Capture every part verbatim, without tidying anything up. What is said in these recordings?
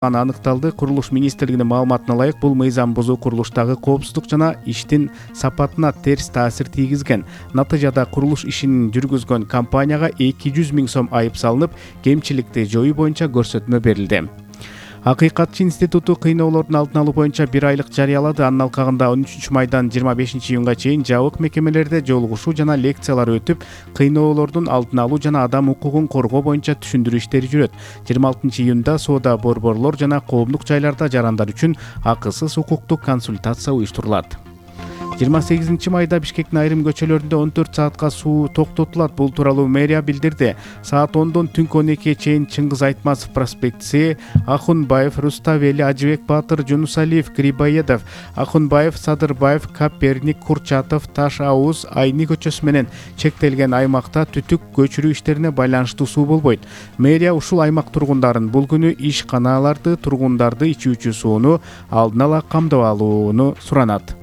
аныкталды. Курулуш министрлигинин маалыматына ылайык, бул мыйзам бузуу курулуштагы коопсуздук жана иштин сапатына терс таасир тийгизген. Натыйжада курулуш ишин жүргүзгөн компанияга эки жүз миң сом айып салынып, кемчиликти жоюу боюнча көрсөтмө берилди. Акыйкатчы институту кыйноолордун алдын алуу боюнча бир айлык жарыялады. Анын алкагында он үчүнчү майдан жыйырма бешинчи июнга чейин жабык мекемелерде жолугушуу жана лекциялар өтүп, кыйноолордун алдын алуу жана адам укугун коргоо боюнча түшүндүрүү иштери жүрөт. жыйырма алтынчы июнда соода борборлор жана коомдук жайларда жарандар үчүн акысыз укуктук консультация уюштурулат. жыйырма сегизинчи майда Бишкектин айрым көчөлөрүндө он төрт саатка суу токтотулат. Бул тууралуу мэрия билдирди. Саат ондон түнкү он экиге чейин Чыңгыз Айтматов проспектиси, Ахунбаев, Руставели, Ажыбек Баатыр, Жунусалиев, Грибоедов, Ахунбаев, Садырбаев, Коперник, Курчатов, Таш Ауыз, Айни көчөсү менен чектелген аймакта түтүк көчүрүү иштерине байланыштуу суу болбойт. Мэрия ушул аймак тургундарын бул күнү ишканаларды, тургундарды ичүүчү сууну алдын ала камдап алууну суранат.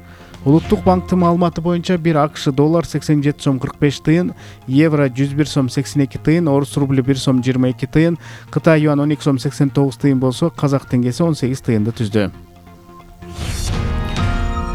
Улуттук банктын маалыматы боюнча бир АКШ доллар сексен жети сом кырк беш тыйын, евро жүз бир сом сексен эки тыйын, орус рубль бир сом жыйырма эки тыйын, Кытай юан он эки сом сексен тогуз тыйын болсо, казак теңгеси он сегиз тыйынды түздү.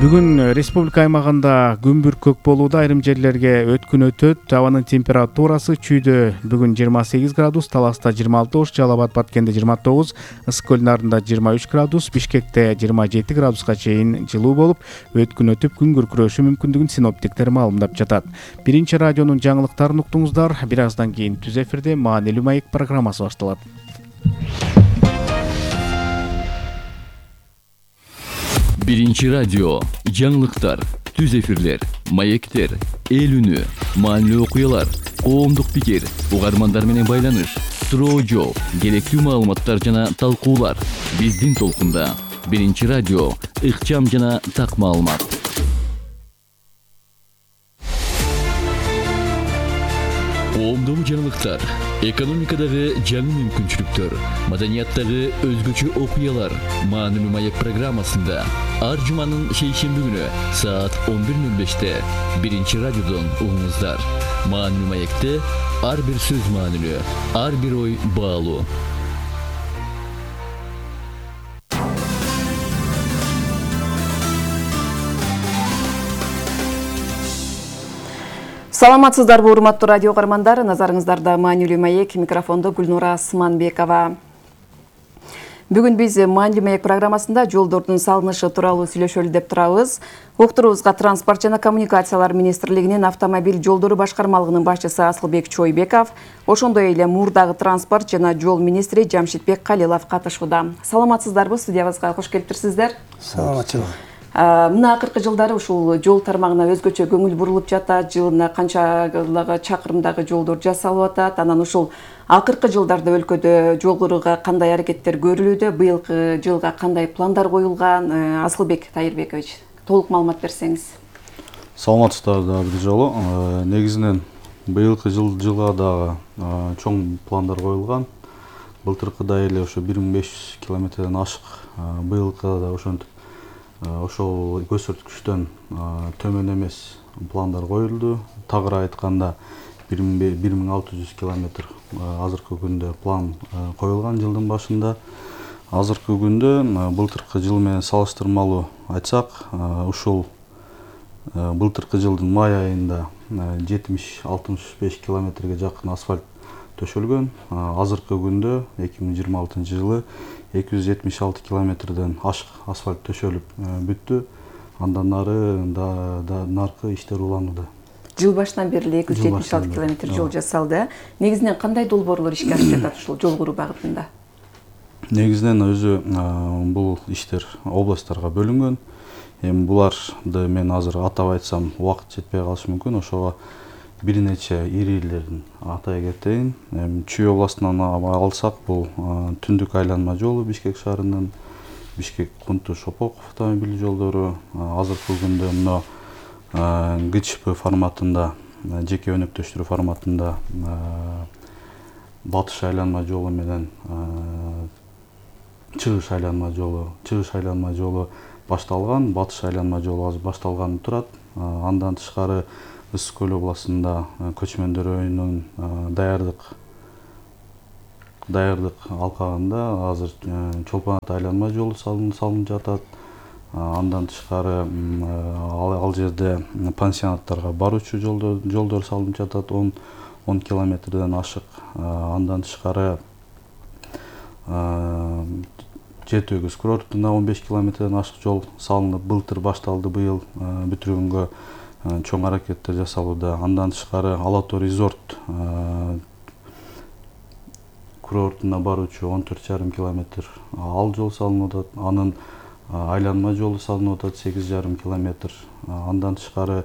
Бүгүн республика аймагында күн бүркөк болууда, айрым жерлерге өткүн өтөт. Абанын температурасы чүйдө бүгүн жыйырма сегиз градус, Таласта жыйырма алты, Ош, Жалал Абад, Баткенде жыйырма тогуз, Ысык көл нарында жыйырма үч градус, Бишкекте жыйырма жети градуска чейин жылуу болуп, өткүн өтүп күн күркүрөшү мүмкүндүгүн синоптиктер маалымдап жатат. Биринчи радионун жаңылыктарын уктуңуздар. Бир аздан кийин түз эфирде маанилүү маек программасы башталат. Биринчи радио, жаңылыктар, түз эфирлер, маектер, эл үнү, маанилүү окуялар, коомдук пикир, угармандар менен байланыш, суроо жооп, керектүү маалыматтар жана талкуулар. Биздин толкунда. Биринчи радио, ыкчам жана так маалымат. Коомдогу жаңылыктар, экономикадагы жаңы мүмкүнчүлүктөр, маданияттагы өзгөчө окуялар. Маанилүү маек программасында ар жуманын шейшемби күнү саат он бир ноль беште биринчи радиодон угуңуздар. Маанилүү маекте ар бир сөз маанилүү, ар бир ой баалуу. Саламатсыздарбы, урматтуу радио угармандар, назарыңыздарда маанилүү маек, микрофондо Гүлнура Сманбекова. Бүгүн биз маанилүү маек программасында жолдордун салынышы тууралуу сүйлөшөлү деп турабыз. Уктурубузга Транспорт жана коммуникациялар министрлигинин автомобиль жолдору башкармалыгынын башчысы Асылбек Чойбеков, ошондой эле Мурдагы транспорт жана жол министри Жамшитбек Калилов катышууда. Саламатсыздарбы, студиябызга кош келиптирсиздер. Саламатчылык. Мына акыркы жылдары ушул жол тармагына өзгөчө көңүл бурулуп жатат, жылына канчалагы чакырымдагы жолдор жасалып атат. Анан ушул акыркы жылдарда өлкөдө жол кырууга кандай аракеттер көрүлүүдө, быйылкы жылга кандай пландар коюлган? Асылбек Тайырбекович, толук маалымат берсеңиз. Саламатсыздар да бир жолу. Негизинен быйылкы жыл жылга дагы чоң пландар коюлган. Былтыркыдай эле ошо бир миң беш жүз километрден ашык, быйылкы да ошентип ошол көрсөткүчтөн төмөн эмес пландар коюлду. Тагыраак айтканда бир миң алты жүз километр азыркы күндө план коюлган жылдын башында. Азыркы күндө былтыркы жыл менен салыштырмалуу айтсак, ушул былтыркы жылдын май айында жетимиш алтымыш беш километрге жакын асфальт төшөлгөн. Азыркы күндө эки миң жыйырма алтынчы жылы эки жүз жетимиш алты километрден ашык асфальт төшөлүп бүттү. Андан нары да наркы иштер уланууда. Жыл башынан бери эки жүз жетимиш алты километр жол жасалды. Негизинен кандай долбоорлор ишке ашып жатат ушул жол куруу багытында? Негизинен өзү бул иштер областтарга бөлүнгөн. Эми буларды мен азыр атап айтсам убакыт жетпей калышы мүмкүн. Ошого бир нече ирилерин атай кетейин. Чүй областынан алсак, бул түндүк айланма жолу Бишкек шаарынын Бишкек-Кунту Шопок автомобиль жолдору. Азыркы күндө мына ГЧП форматында, жеке өнөктөштүрүү форматында Батыш айланма жолу менен Чыгыш айланма жолу, Чыгыш айланма жолу башталган, Батыш айланма жолу азыр башталганы турат. Андан тышкары Ысык көл областында көчмөндөр өйүнүн даярдык даярдык алкагында азыр Чолпон ата айланма жолу салынып жатат. Андан тышкары ал жерде пансионаттарга баруучу жолдор салынып жатат, он километрден ашык. Андан тышкары Жети өгүз курортуна он беш километрден ашык жол салынып, былтыр башталды, быйыл бүтүргөнгө чоң аракеттер жасалууда. Андан тышкары Ала Тоо резорт курортуна баруучу он төрт жарым километр ал жол салынып атат. Анын айланма жолу салынып атат сегиз жарым километр. Андан тышкары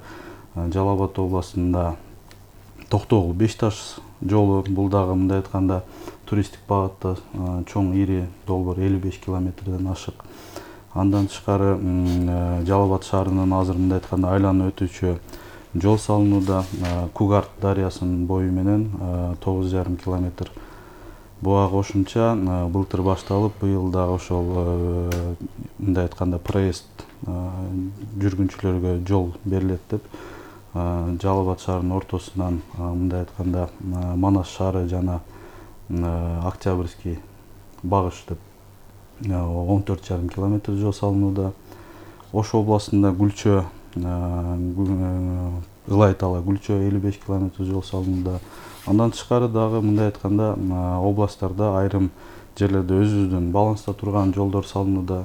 Жалал Абад областында Токтогул Беш Таш жолу, бул дагы мындай айтканда туристтик багытта чоң ири долбоор элүү беш километрден ашык. Андан тышкары Жалал Абад шаарынын азыр мындай айтканда айланып өтүүчү жол салынууда. Кугарт дарыясынын бою менен тогуз жарым километр. Буга кошумча былтыр башталып, быйыл дагы ошол мындай айтканда проезд жүргүнчүлөргө жол берилет деп Жалал Абад шаарынын ортосунан мындай айтканда Манас шаары жана Октябрьский багыш деп он төрт жарым километр жол салынууда. Ош областында Гүлчө, Ылай Тала Гүлчө элүү беш километр жол салынууда. Андан тышкары дагы мындай айтканда областтарда айрым жерлерде өзүбүздүн баланста турган жолдор салынууда.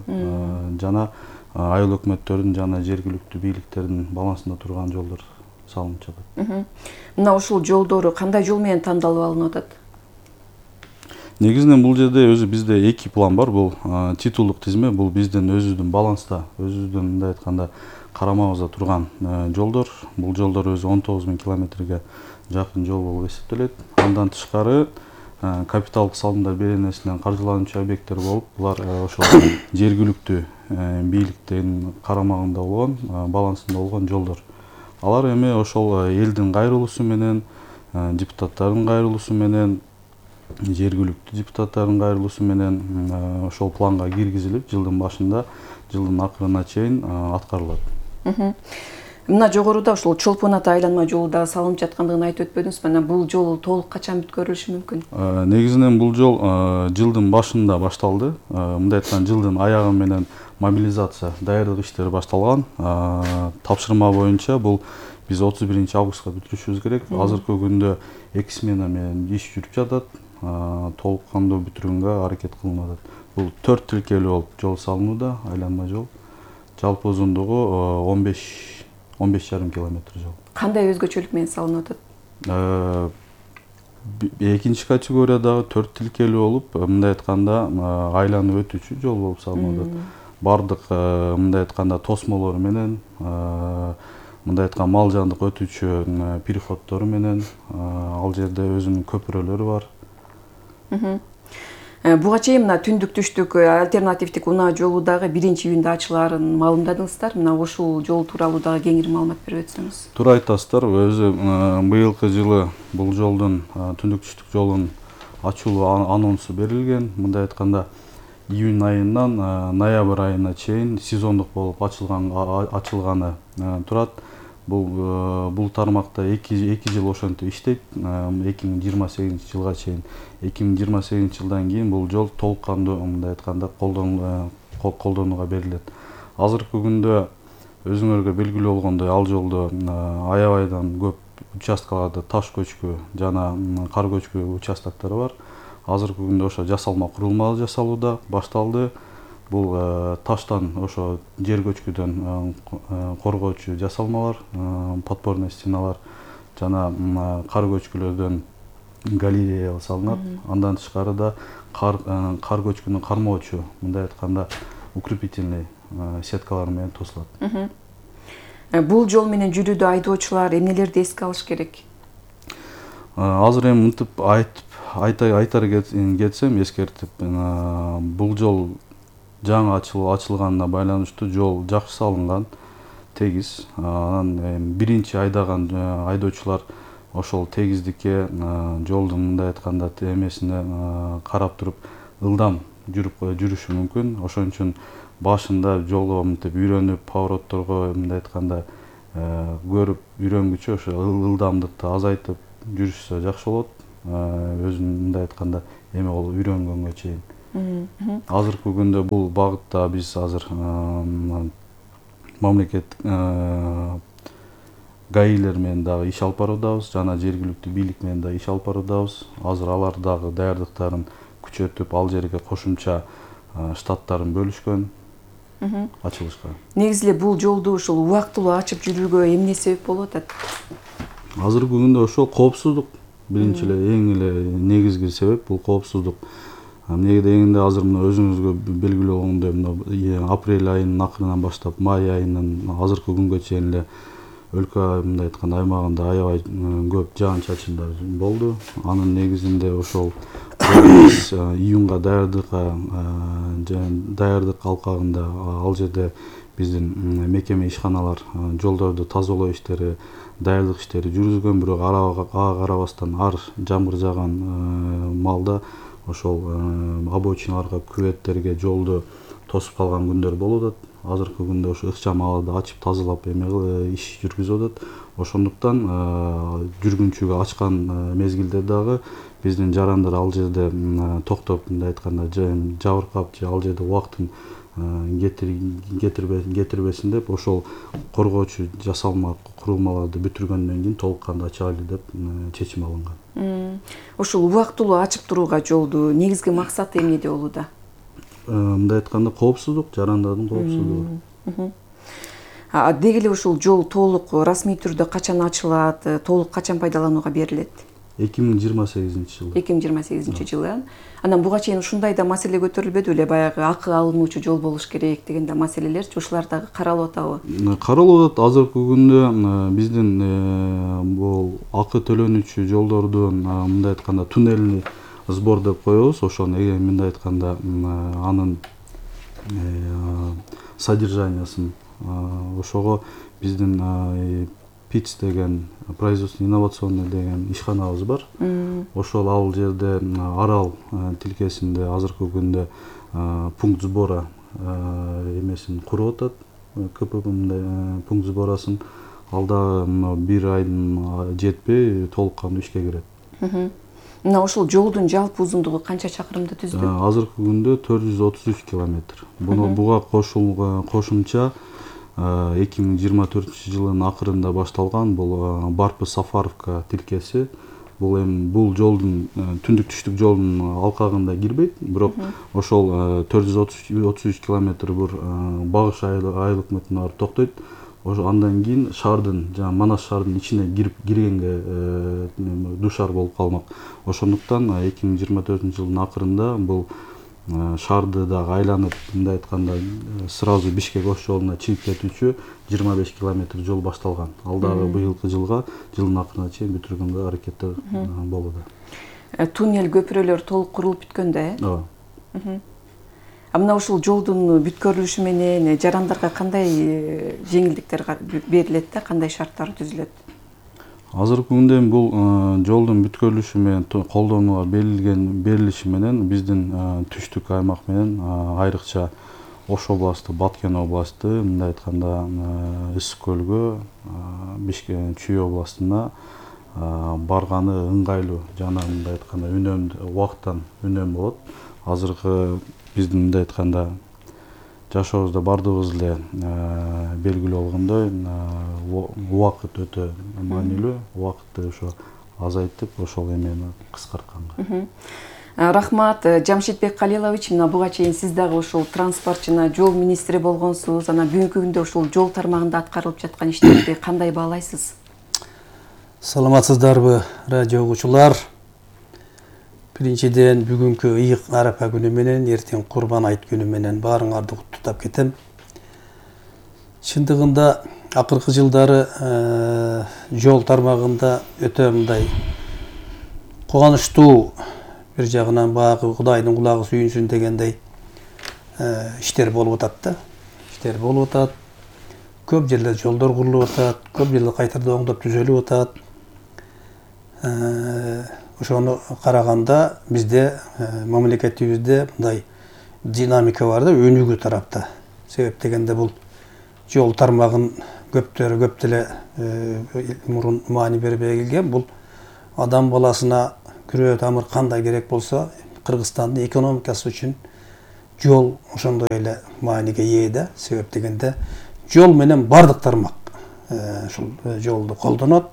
Жана айыл өкмөттөрдүн жана жергиликтүү бийликтердин балансында турган жолдор салынып жатат. Мына ушул жолдору кандай жол менен тандалып алынып атат? Негизинен бул жерде өзү бизде эки план бар. Бул титулдук тизме, бул биздин өзүбүздүн баланста, өзүбүздүн мындай айтканда карамабызда турган жолдор. Бул жолдор өзү он тогуз миң километрге жакын жол болуп эсептелет. Андан тышкары капиталдык салымдар беренесинен каржылануучу объекттер болуп, булар ошол жергиликтүү бийликтин карамагында болгон, балансында болгон жолдор. Алар эми ошол элдин кайрылуусу менен, депутаттардын кайрылуусу менен, жергиликтүү депутаттардын кайрылуусу менен ошол планга киргизилип, жылдын башында, жылдын акырына чейин аткарылат. Мына жогоруда ушул Чолпон ата айланма жолу да салынып жаткандыгын айтып өтпөдүңүзбү? Мына бул жол толук качан бүткөрүлүшү мүмкүн? Негизинен бул жол жылдын башында башталды. Мындай айтканда жылдын аягы менен мобилизация, даярдык иштери башталган. Тапшырма боюнча бул биз отуз биринчи августка бүтүрүшүбүз керек. Азыркы күндө эки смена менен иш жүрүп жатат. Толук кандуу бүтүргөнгө аракет кылынып атат. Бул төрт тилкелүү болуп жол салынууда, айланма жол. Жалпы узундугу он беш жарым километр жол. Кандай өзгөчөлүк менен салынып атат? Экинчи категориядагы төрт тилкелүү болуп, мындай айтканда айланып өтүүчү жол болуп салынып атат. Бардык мындай айтканда тосмолору менен, мындай айтканда мал жандык өтүүчү переходдору менен, ал жерде өзүнүн көпүрөлөрү бар. Буга чейин мына түндүк түштүк альтернативдик унаа жолу дагы биринчи июнда ачылаарын маалымдадыңыздар. Мына ушул жол тууралуу дагы кеңири маалымат берип өтсөңүз. Туура айтасыздар. Өзү быйылкы жылы бул жолдун, түндүк түштүк жолдун ачылуу анонсу берилген. Мындай айтканда июнь айынан ноябрь айына чейин сезондук болуп ачылганы турат. Бул тармакта эки жыл ошентип иштейт. эки миң жыйырма сегизинчи жылга чейин. эки миң жыйырма сегизинчи жылдан кийин бул жол толук кандуу мындай айтканда колдонууга берилет. Азыркы күндө өзүңөргө белгилүү болгондой, ал жолдо аябайдан көп участкаларда таш көчкү жана кар көчкү участоктор бар. Азыркы күндө ошо жасалма курулмалар жасалууда, башталды. Бул таштан ошо жер көчкүдөн коргоочу жасалмалар, подпорный стеналар жана кар көчкүлөрдөн галерея салынат. Андан тышкары да кар көчкүнү кармоочу, мындай айтканда укрепительный сеткалар менен тосулат. Бул жол менен жүрүүдө айдоочулар эмнелерди эске алыш керек? Азыр эми мынтип айтып айтар кетсем, эскертип, бул жол жаңы ачылганына байланыштуу жол жакшы салынган, тегиз. Анан биринчи айдаган айдоочулар ошол тегиздикке, жолдун мындай айтканда эмесине карап туруп ылдам жүрүп жүрүшү мүмкүн. Ошон үчүн башында жолго мынтип үйрөнүп, поворотторго мындай айтканда көрүп үйрөнгүчө ошо ылдамдыкты азайтып жүрүшсө жакшы болот. Өзүнүн мындай айтканда эме болуп үйрөнгөнгө чейин. Азыркы күндө бул багытта биз азыр мамлекет гаилер менен дагы иш алып баруудабыз, жана жергиликтүү бийлик менен да иш алып баруудабыз. Азыр алар дагы даярдыктарын күчөтүп, ал жерге кошумча штаттарын бөлүшкөн ачылышка. Негизи эле бул жолду ушул убактылуу ачып жүрүүгө эмне себеп болуп атат? Азыркы күндө ошол коопсуздук. Биринчи эле эң эле негизги себеп бул коопсуздук. Эмнеге дегенде азыр мына өзүңүзгө белгилүү болгондой мына апрель айынын акырынан баштап май айынын азыркы күнгө чейин эле өлкө мындай айтканда аймагында аябай көп жаан-чачындар болду. Анын негизинде ошол июнга даярдыкка даярдык алкагында ал жерде биздин мекеме ишканалар жолдорду тазалоо иштери, даярдык иштери жүргүзгөн, бирок ага карабастан ар жамгыр жааган маалда ошол обочиналарга, күбөттерге жолду тосуп калган күндөр болуп атат. Азыркы күндө ошо ыкчам абалда ачып тазалап эме иш жүргүзүп атат. Ошондуктан жүргүнчүгө ачкан мезгилде дагы биздин жарандар ал жерде токтоп, мындай айтканда жабыркап же ал жерде убактын кетирбесин деп ошол коргоочу жасалма курулмаларды бүтүргөндөн кийин толук кандуу ачайлы деп чечим алынган. Ошол убактылуу ачып турууга жолду негизги максаты эмнеде болууда? Мындай айтканда коопсуздук, жарандардын коопсуздугу. Деги эле ушул жол толук расмий түрдө качан ачылат, толук качан пайдаланууга берилет? эки миң жыйырма сегизинчи жылы. эки миң жыйырма сегизинчи жылы. Анан буга чейин ушундай да маселе көтөрүлбөдү беле, баягы акы алынуучу жол болуш керек деген да маселелерчи, ушулар дагы каралып атабы? Каралып атат. Азыркы күндө биздин бул акы төлөнүүчү жолдордун мындай айтканда туннельный сбор деп коебуз. Ошону мындай айтканда анын содержаниясын ошого биздин ПИЦ деген производство инновационный деген ишканабыз бар. Ошол ал жерде Арал тилкесинде азыркы күндө пункт сбора эмесин куруп атат. КПП мындай пункт сборасын ал дагы бир айдын жетпей толук кандуу ишке кирет. Мына ошол жолдун жалпы узундугу канча чакырымды түздү? Азыркы күндө төрт жүз отуз үч километр. Буну буга кошулган кошумча эки миң жыйырма төртүнчү жылдын акырында башталган бул Барпы Сафаровка тилкеси. Бул эми бул жолдун түндүк түштүк жолдун алкагында кирбейт, бирок ошол төрт жүз отуз үч километр бир Багыш айылык мытына барып токтойт. Ошо андан кийин шаардын, жана Манас шаардын ичине кирип киргенге душар болуп калмак. Ошондуктан эки миң жыйырма төртүнчү жылдын акырында бул шаарды дагы айланып, мындай айтканда сразу Бишкек ош жолуна чыгып кетүүчү жыйырма беш километр жол башталган. Ал дагы быйылкы жылга, жылдын акырына чейин бүтүргөнгө аракеттер болууда. Туннель, көпүрөлөр толук курулуп бүткөн да, э? Ооба. А мына ушул жолдун бүткөрүлүшү менен жарандарга кандай жеңилдиктер берилет да, кандай шарттар түзүлөт? Азыркы күндө бул жолдун бүткөрүлүшү менен колдонууга берилген берилиши менен биздин түштүк аймак менен айрыкча Ош областы, Баткен областы, мындай айтканда Ысык көлгө, Бишкек Чүй областына барганы ыңгайлуу жана мындай айтканда үнөмдүү, убакыттан үнөм болот. Азыркы биздин мындай айтканда жашообузда бардыгыбыз эле белгилүү болгондой убакыт өтө маанилүү, убакытты ошо азайтып, ошол эмени кыскартканга. Рахмат, Жамшитбек Калилович, мына буга чейин сиз дагы ошол транспорт жана жол министри болгонсуз. Анан бүгүнкү күндө ушул жол тармагында аткарылып жаткан иштерди кандай баалайсыз? Саламатсыздарбы, радио угуучулар? Биринчиден бүгүнкү ыйык Арапа күнү менен, эртең Курбан айт күнү менен баарыңарды куттуктап кетем. Чындыгында акыркы жылдары жол тармагында өтө мындай кубанычтуу, бир жагынан баягы Кудайдын кулагы сүйүнсүн дегендей иштер болуп атат да. Иштер болуп атат. Көп жерлерде жолдор курулуп атат, көп жерлерде кайтарда оңдоп түзөлүп атат. Ошону караганда бизде мамлекетибизде мындай динамика бар да, өнүгүү тарапта. Себеп дегенде бул жол тармагын көптөр көп деле мурун маани бербей келген. Бул адам баласына күрөө тамыр кандай керек болсо, Кыргызстандын экономикасы үчүн жол ошондой эле мааниге ээ да. Себеп дегенде жол менен бардык тармак ушул жолду колдонот.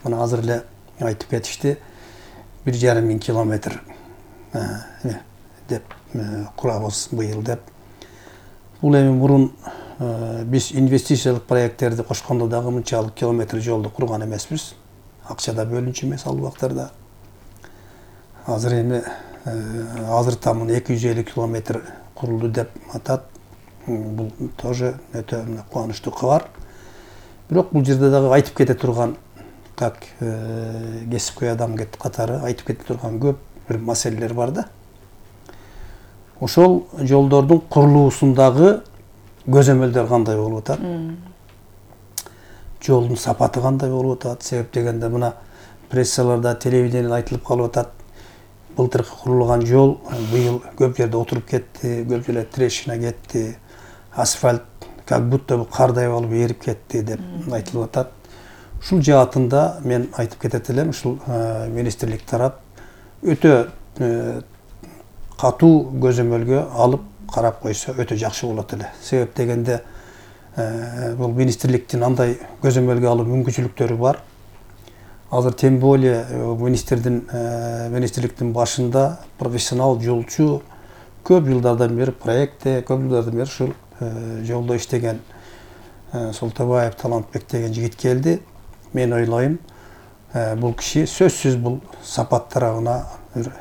Мына азыр эле айтып кетишти, бир жарым миң километр деп курабыз быйыл деп. Бул эми мурун биз инвестициялык проекттерди кошкондо дагы мынчалык километр жолду курган эмеспиз. Акча да бөлүнчү эмес ал убактарда. Азыр эми азыр тамын эки жүз элүү километр курулду деп атат. Бул тоже өтө кубанычтуу кабар. Бирок бул жерде дагы айтып кете турган, как кесипкөй адам катары айтып кете турган көп бир маселелер бар да. Ошол жолдордун курулуусундагы көзөмөлдөр кандай болуп атат? Жолдун сапаты кандай болуп атат? Себеп дегенде мына прессаларда, телевидениеде айтылып калып атат. Былтыркы курулган жол быйыл көп жерде отуруп кетти, көп жерде трещина кетти, асфальт как будто кардай болуп эрип кетти деп айтылып атат. Ушул жаатында мен айтып кетет элем, ушул министрлик тарап өтө катуу көзөмөлгө алып карап койсо өтө жакшы болот эле. Себеп дегенде бул министрликтин андай көзөмөлгө алуу мүмкүнчүлүктөрү бар. Азыр тем более министрдин министрликтин башында профессионал жолчу көп жылдардан бери проектте, көп жылдардан бери ушул жолдо иштеген Солтабаев Талантбек деген жигит келди. Мен ойлойм, бул киши сөзсүз бул сапат тарабына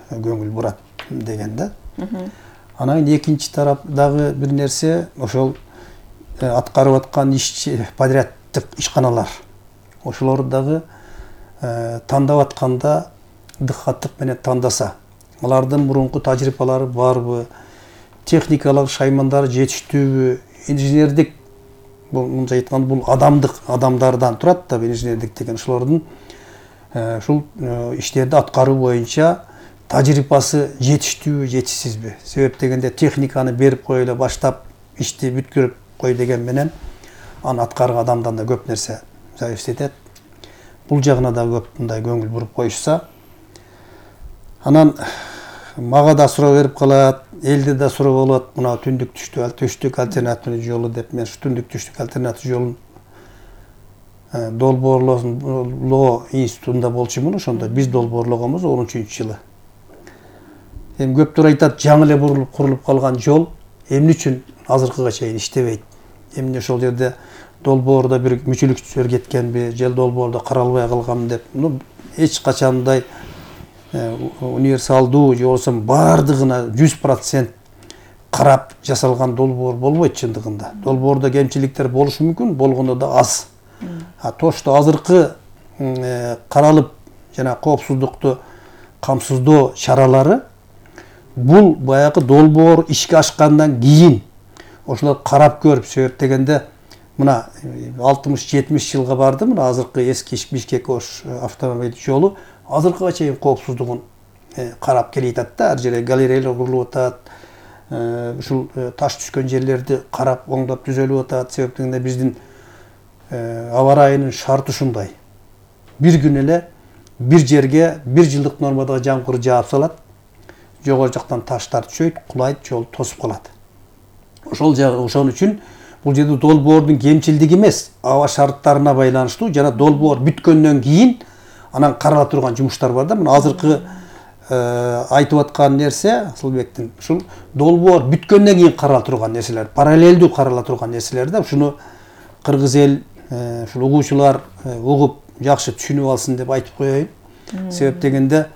көңүл бурат деген да. Анан экинчи тараптагы бир нерсе ошол аткарып аткан ишчи подряддык ишканалар. Ошолор дагы тандап атканда дыккаттык менен тандаса, алардын мурунку тажрыйбалары барбы, техникалык шаймандары жетиштүүбү, инженердик, бул мынча айтканда бул адамдык адамдардан турат да, инженердик деген ошолордун ушул иштерди аткаруу боюнча тажрыйбасы жетиштүүбү, жетишсизби? Себеп дегенде техниканы берип кой эле баштап ишти бүткөрүп кой деген менен аны аткарган адамдан да көп нерсе зависит этет. Бул жагына да көп мындай көңүл буруп коюшса, анан мага да суроо берип калат, элде да суроо болот. Мына түндүк түштүк түштүк альтернативный жолу деп, мен ушу түндүк түштүк альтернатив жолун долбоорлоо институтунда болчумун. Ошондо биз долбоорлогонбуз он үчүнчү жылы. Эми көптөр айтат, жаңы эле бурулуп курулуп калган жол эмне үчүн азыркыга чейин иштебейт? Эмне ошол жерде долбоордо бир мүчүлүктөр кеткенби, же долбоордо каралбай калганбы деп. Ну, эч качандай универсалдуу же болбосо бардыгына жүз процент карап жасалган долбоор болбойт чындыгында. Долбоордо кемчиликтер болушу мүмкүн, болгондо да аз. А то, что азыркы каралып жана коопсуздукту камсыздоо чаралары, бул баягы долбоор ишке ашкандан кийин ошолор карап көрүп, себеп дегенде мына алтымыш жетимиш жылга барды, мына азыркы эски Бишкек-Ош автомобиль жолу азыркыга чейин коопсуздугун карап келе жатат да, ар жерде галереялар курулуп атат, ушул таш түшкөн жерлерди карап оңдоп түзөлүп атат. Себеп дегенде биздин аба ырайынын шарты ушундай. Бир күн эле бир жерге бир жылдык нормадагы жамгыр жаап салат, жогору жактан таштар түшөйт, кулайт, жол тосуп калат. Ошол жагы ошон үчүн бул жерде долбоордун кемчилдиги эмес, аба шарттарына байланыштуу жана долбоор бүткөндөн кийин анан карала турган жумуштар бар да. Мына азыркы айтып аткан нерсе Асылбектин ушул долбоор бүткөндөн кийин карала турган нерселер, параллелдүү карала турган нерселер да. Ушуну кыргыз эл, ушул угуучулар угуп жакшы түшүнүп алсын деп айтып коеюн. Себеп дегенде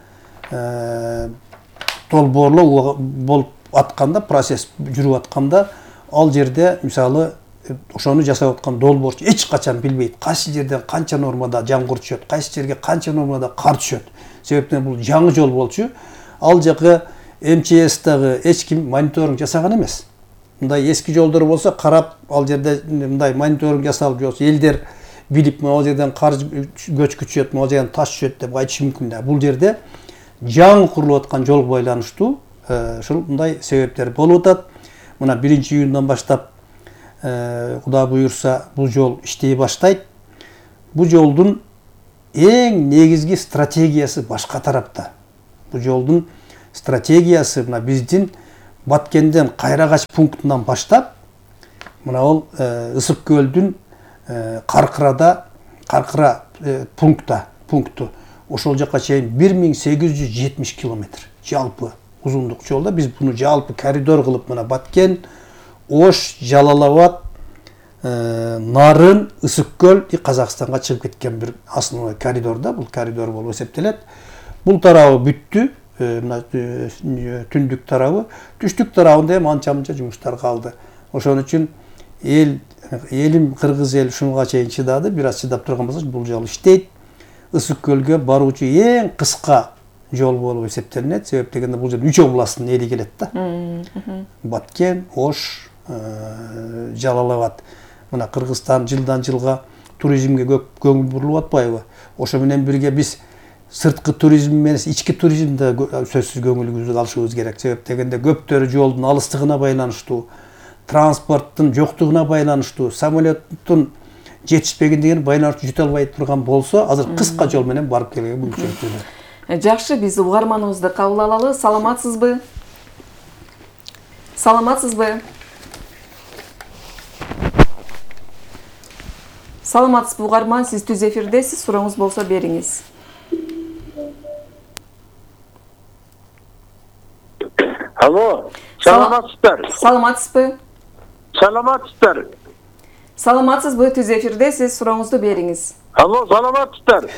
долбоорлоо болуп атканда, процесс жүрүп атканда, ал жерде мисалы ошону жасап аткан долбоорчу эч качан билбейт кайсы жерден канча нормада жамгыр түшөт, кайсы жерге канча нормада кар түшөт. Себептен бул жаңы жол болчу. Ал жакы эм че эс дагы эч ким мониторинг жасаган эмес. Мындай эски жолдор болсо карап, ал жерде мындай мониторинг жасалып жолсо элдер билип, могу жерден кар көчкү түшөт, могу жерден таш түшөт деп айтышы мүмкүн да. Бул жерде жаңы курулуп аткан жолго байланыштуу ушул мындай себептер болуп атат. Мына биринчи июндан баштап Кудай буйурса бул жол иштей баштайт. Бул жолдун эң негизги стратегиясы башка тарапта. Бул жолдун стратегиясы мына биздин Баткенден Кайрagaч пунктунан баштап мына ол Ысык көлдүн Каркырада Каркыра пункта пункту ошол жакка чейин бир миң сегиз жүз жетимиш километр жалпы узундук жолда биз буну жалпы коридор кылып мына Баткен, Ош, Жалал Абад, Нарын, Ысык көл Казакстанга чыгып кеткен бир основной коридор да, бул коридор болуп эсептелет. Бул тарабы бүттү, мына түндүк тарабы, түштүк тарабында эми анча-мынча жумуштар калды. Ошон үчүн эл элим кыргыз эл ушунга чейин чыдады, бир аз чыдап турган болсо бул жол иштейт. Ысык көлгө баруучу эң кыска жол болуп эсептелинет. Себеп дегенде бул жер үч областтын эли келет да. Баткен, Ош, Жалал Абад. Мына Кыргызстан жылдан жылга туризмге көп көңүл бурулуп атпайбы? Ошо менен бирге биз сырткы туризм менен ички туризмде сөзсүз көңүлүбүздү алышыбыз керек. Себеп дегенде көптөрү жолдун алыстыгына байланыштуу, транспорттун жоктугуна байланыштуу, самолеттун жетишпегендигине байланыштуу жүтө албай турган болсо, азыр кыска жол менен барып келүүгө мүмкүнчүлүк бар. Жакшы, биз угарманыбызды кабыл алалы. Саламатсызбы? Саламатсызбы? Саламатсызбы угарман, сиз түз эфирдесиз, сурооңуз болсо бериңиз. Алло, саламатсыздар. Саламатсызбы? Саламатсыздар. Саламатсызбы, түз эфирдесиз, сурооңузду бериңиз. Алло, саламатсыздар.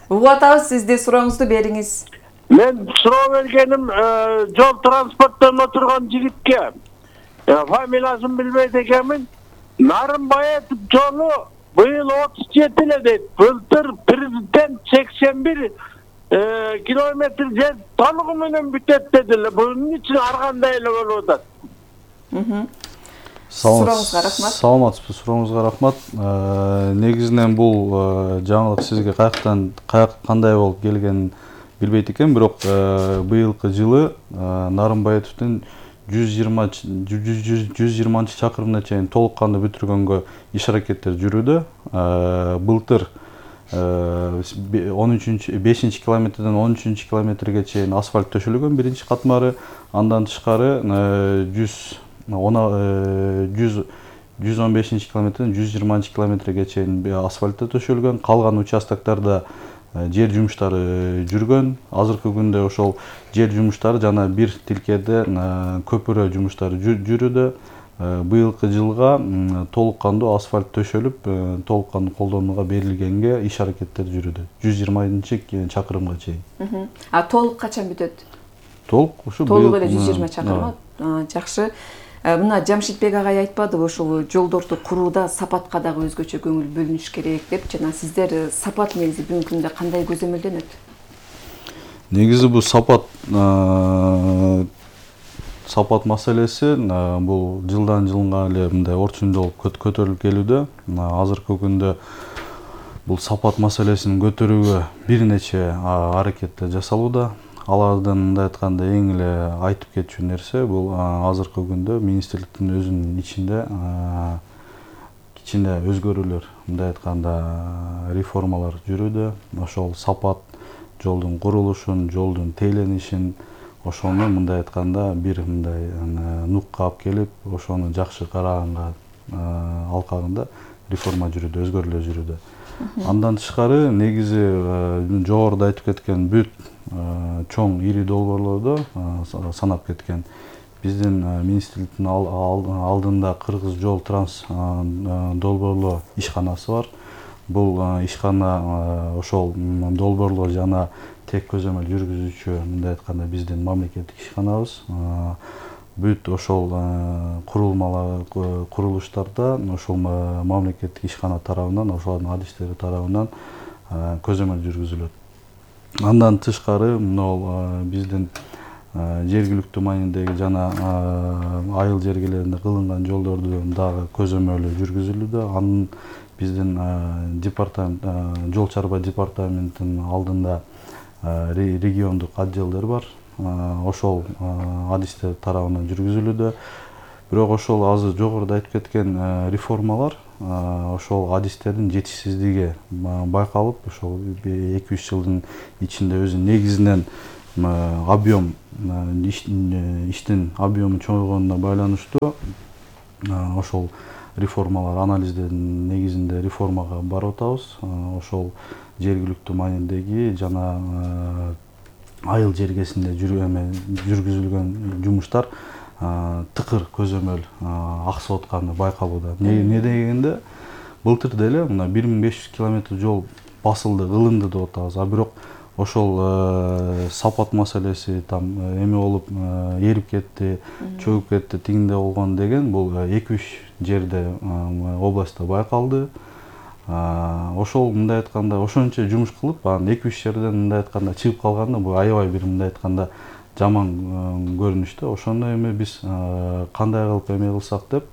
Угуп атабыз, сизди, сурооңузду бериңиз. Мен суроо бергеним жол транспорттон отурган жигитке. Фамилиясын билбейт экенмин. Нарынбаев жолу быйыл отуз жети эле дейт. Былтыр президент сексен бир километр жер толугу менен бүтөт дедилер. Bunun için ар кандай эле болуп атат. Сурооңузга рахмат. Саламатсызбы, сурооңузга рахмат. Негизинен бул жаңылык сизге каяктан кандай болуп келгенин билбейт экен, бирок быйылкы жылы Нарынбаевдин жүз жыйырманчы чакырымына чейин толук кандуу бүтүргөнгө иш аракеттер жүрүүдө. Былтыр бешинчи километрден он үчүнчү километрге чейин асфальт төшөлгөн биринчи катмары, андан тышкары жүз он бешинчи километрден жүз жыйырманчы километрге чейин асфальт төшөлгөн, калган участоктарда жер жумуштары жүргөн. Азыркы күндө ошол жер жумуштары жана бир тилкеде көпүрө жумуштары жүрүүдө. Быйылкы жылга толук кандуу асфальт төшөлүп, толук кандуу колдонууга берилгенге иш аракеттер жүрүүдө. жүз жыйырманчы чакырымга чейин. А толук качан бүтөт? Толук ушу толук эле жүз жыйырма чакырым. Жакшы. Мына Жамшитбек агай айтпадыбы, ушул жолдорду курууда сапатка дагы өзгөчө көңүл бөлүнүш керек деп, жана сиздер сапат негизи бүгүнкү күндө кандай көзөмөлдөнөт? Негизи бул сапат сапат маселеси бул жылдан жылга эле мындай орчундолуп көтөрүлүп келүүдө. Азыркы күндө бул сапат маселесин көтөрүүгө бир нече аракеттер жасалууда. Алардын мындай айтканда эң эле айтып кетчү нерсе бул азыркы күндө министрликтин өзүнүн ичинде кичине өзгөрүүлөр, мындай айтканда реформалар жүрүүдө. Ошол сапат жолдун курулушун, жолдун тейленишин, ошону мындай айтканда бир мындай нукка алып келип, ошону жакшы караганга алкагында реформа жүрүүдө, өзгөрүүлөр жүрүүдө. Андан тышкары негизи жогоруда айтып кеткен бүт чоң ири долбоорлордо санап кеткен. Биздин министрликтин алдында Кыргыз жол транс долбоорлоо ишканасы бар. Бул ишкана ошол долбоорлоо жана тек көзөмөл жүргүзүүчү, мындай айтканда биздин мамлекеттик ишканабыз. Бүт ошол курулмалар, курулуштарда ошол мамлекеттик ишкана тарабынан, ошолордун адистери тарабынан көзөмөл жүргүзүлөт. Андан тышкары мына биздин жергиликтүү маанидеги жана айыл жергелеринде кылынган жолдорду дагы көзөмөлү жүргүзүлүүдө. Анын биздин департамент, жол чарба департаментинин алдында региондук отделдер бар. Ошол адистер тарабынан жүргүзүлүүдө. Бирок ошол азыр жогоруда айтып кеткен реформалар ошол адистердин жетишсиздиги байкалып, ошол эки үч жылдын ичинде өзү негизинен объем иштин объему чоңойгонуна байланыштуу ошол реформалар анализдердин негизинде реформага барып атабыз. Ошол жергиликтүү маанидеги жана айыл жергесинде жүргүзүлгөн жумуштар тыкыр көзөмөл аксап атканы байкалууда. Эмне дегенде былтыр деле мына бир миң беш жүз километр жол басылды, кылынды деп атабыз. А бирок ошол сапат маселеси там эме болуп эрип кетти, чөгүп кетти, тигинде болгон деген бул эки үч жерде областта байкалды. Ошол мындай айтканда ошончо жумуш кылып, анан эки үч жерден мындай айтканда чыгып калганда бул аябай бир мындай айтканда жаман көрүнүштө. Ошондо эми биз кандай кылып эме кылсак деп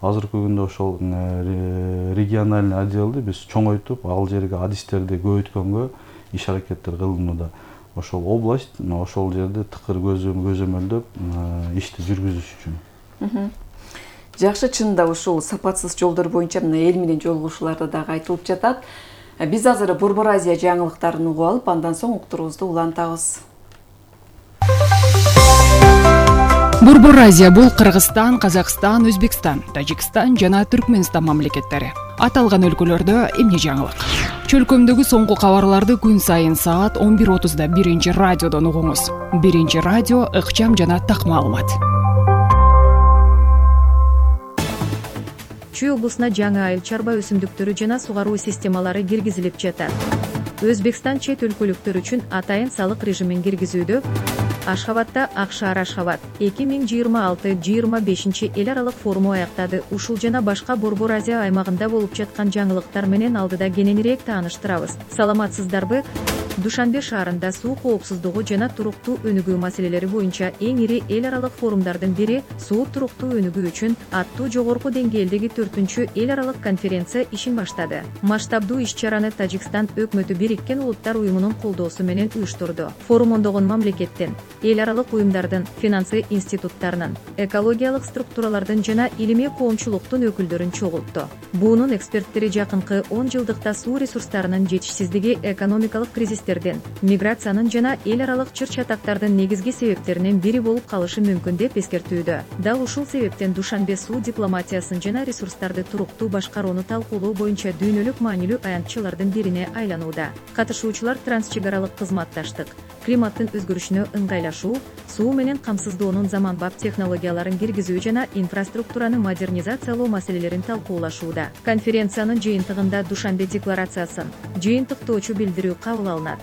азыркы күндө ошол региональный отделди биз чоңойтуп, ал жерге адистерди көбөйткөнгө иш аракеттер кылынууда. Ошол область ошол жерде тыкыр көзөмөлдөп ишти жүргүзүш үчүн. Жакшы, чынында ушул сапатсыз жолдор боюнча мына эл менен жолугушууларда дагы айтылып жатат. Биз азыр Борбор Азия жаңылыктарын угуп алып, андан соң уктуруубузду улантабыз. Борбор Азия бул Кыргызстан, Казакстан, Өзбекстан, Тажикстан жана Түркмөнстан мамлекеттери. Аталган өлкөлөрдө эмне жаңылык? Чөлкөмдөгү соңку кабарларды күн сайын саат он бир отузда биринчи радиодон угуңуз. Биринчи радио ыкчам жана так маалымат. Чүй облусуна жаңы айыл чарба өсүмдүктөрү жана сугаруу системалары киргизилип жатат. Өзбекстан чет өлкөлүктөр үчүн атайын салык режимин киргизүүдө. Ашхабадда Ак шаар Ашхабад эки миң жыйырма алты жыйырма бешинчи эл аралык форуму аяктады. Ушул жана башка Борбор Азия аймагында болуп жаткан жаңылыктар менен алдыда кененирээк тааныштырабыз. Саламатсыздарбы? Душанбе шаарында суу коопсуздугу жана туруктуу өнүгүү маселелери боюнча эң ири эл аралык форумдардын бири суу туруктуу өнүгүү үчүн аттуу жогорку деңгээлдеги төртүнчү эл аралык конференция ишин баштады. Масштабдуу иш-чараны Тажикстан өкмөтү Бириккен Улуттар уюмунун колдоосу менен уюштурду. Форум ондогон мамлекеттен, эл аралык уюмдардын, финансы институттарынын, экологиялык структуралардын жана илимий коомчулуктун өкүлдөрүн чогултту. Буунун эксперттери жакынкы он жылдыкта суу ресурстарынын жетишсиздиги экономикалык кризистердин, миграциянын жана эл аралык чыр-чатактардын негизги себептеринин бири болуп калышы мүмкүн деп эскертүүдө. Дал ушул себептен Душанбе суу дипломатиясын жана ресурстарды туруктуу башкарууну талкуулоо боюнча дүйнөлүк маанилүү аянтчылардын бирине айланууда. Катышуучулар трансчек аралык кызматташтык, климаттын өзгөрүшүнө ыңгайлашуу, суу менен камсыздоонун заманбап технологияларын киргизүү жана инфраструктураны модернизациялоо маселелерин талкуулашууда. Конференциянын жыйынтыгында Душанбе декларациясын, жыйынтыктоочу билдирүү кабыл алынат.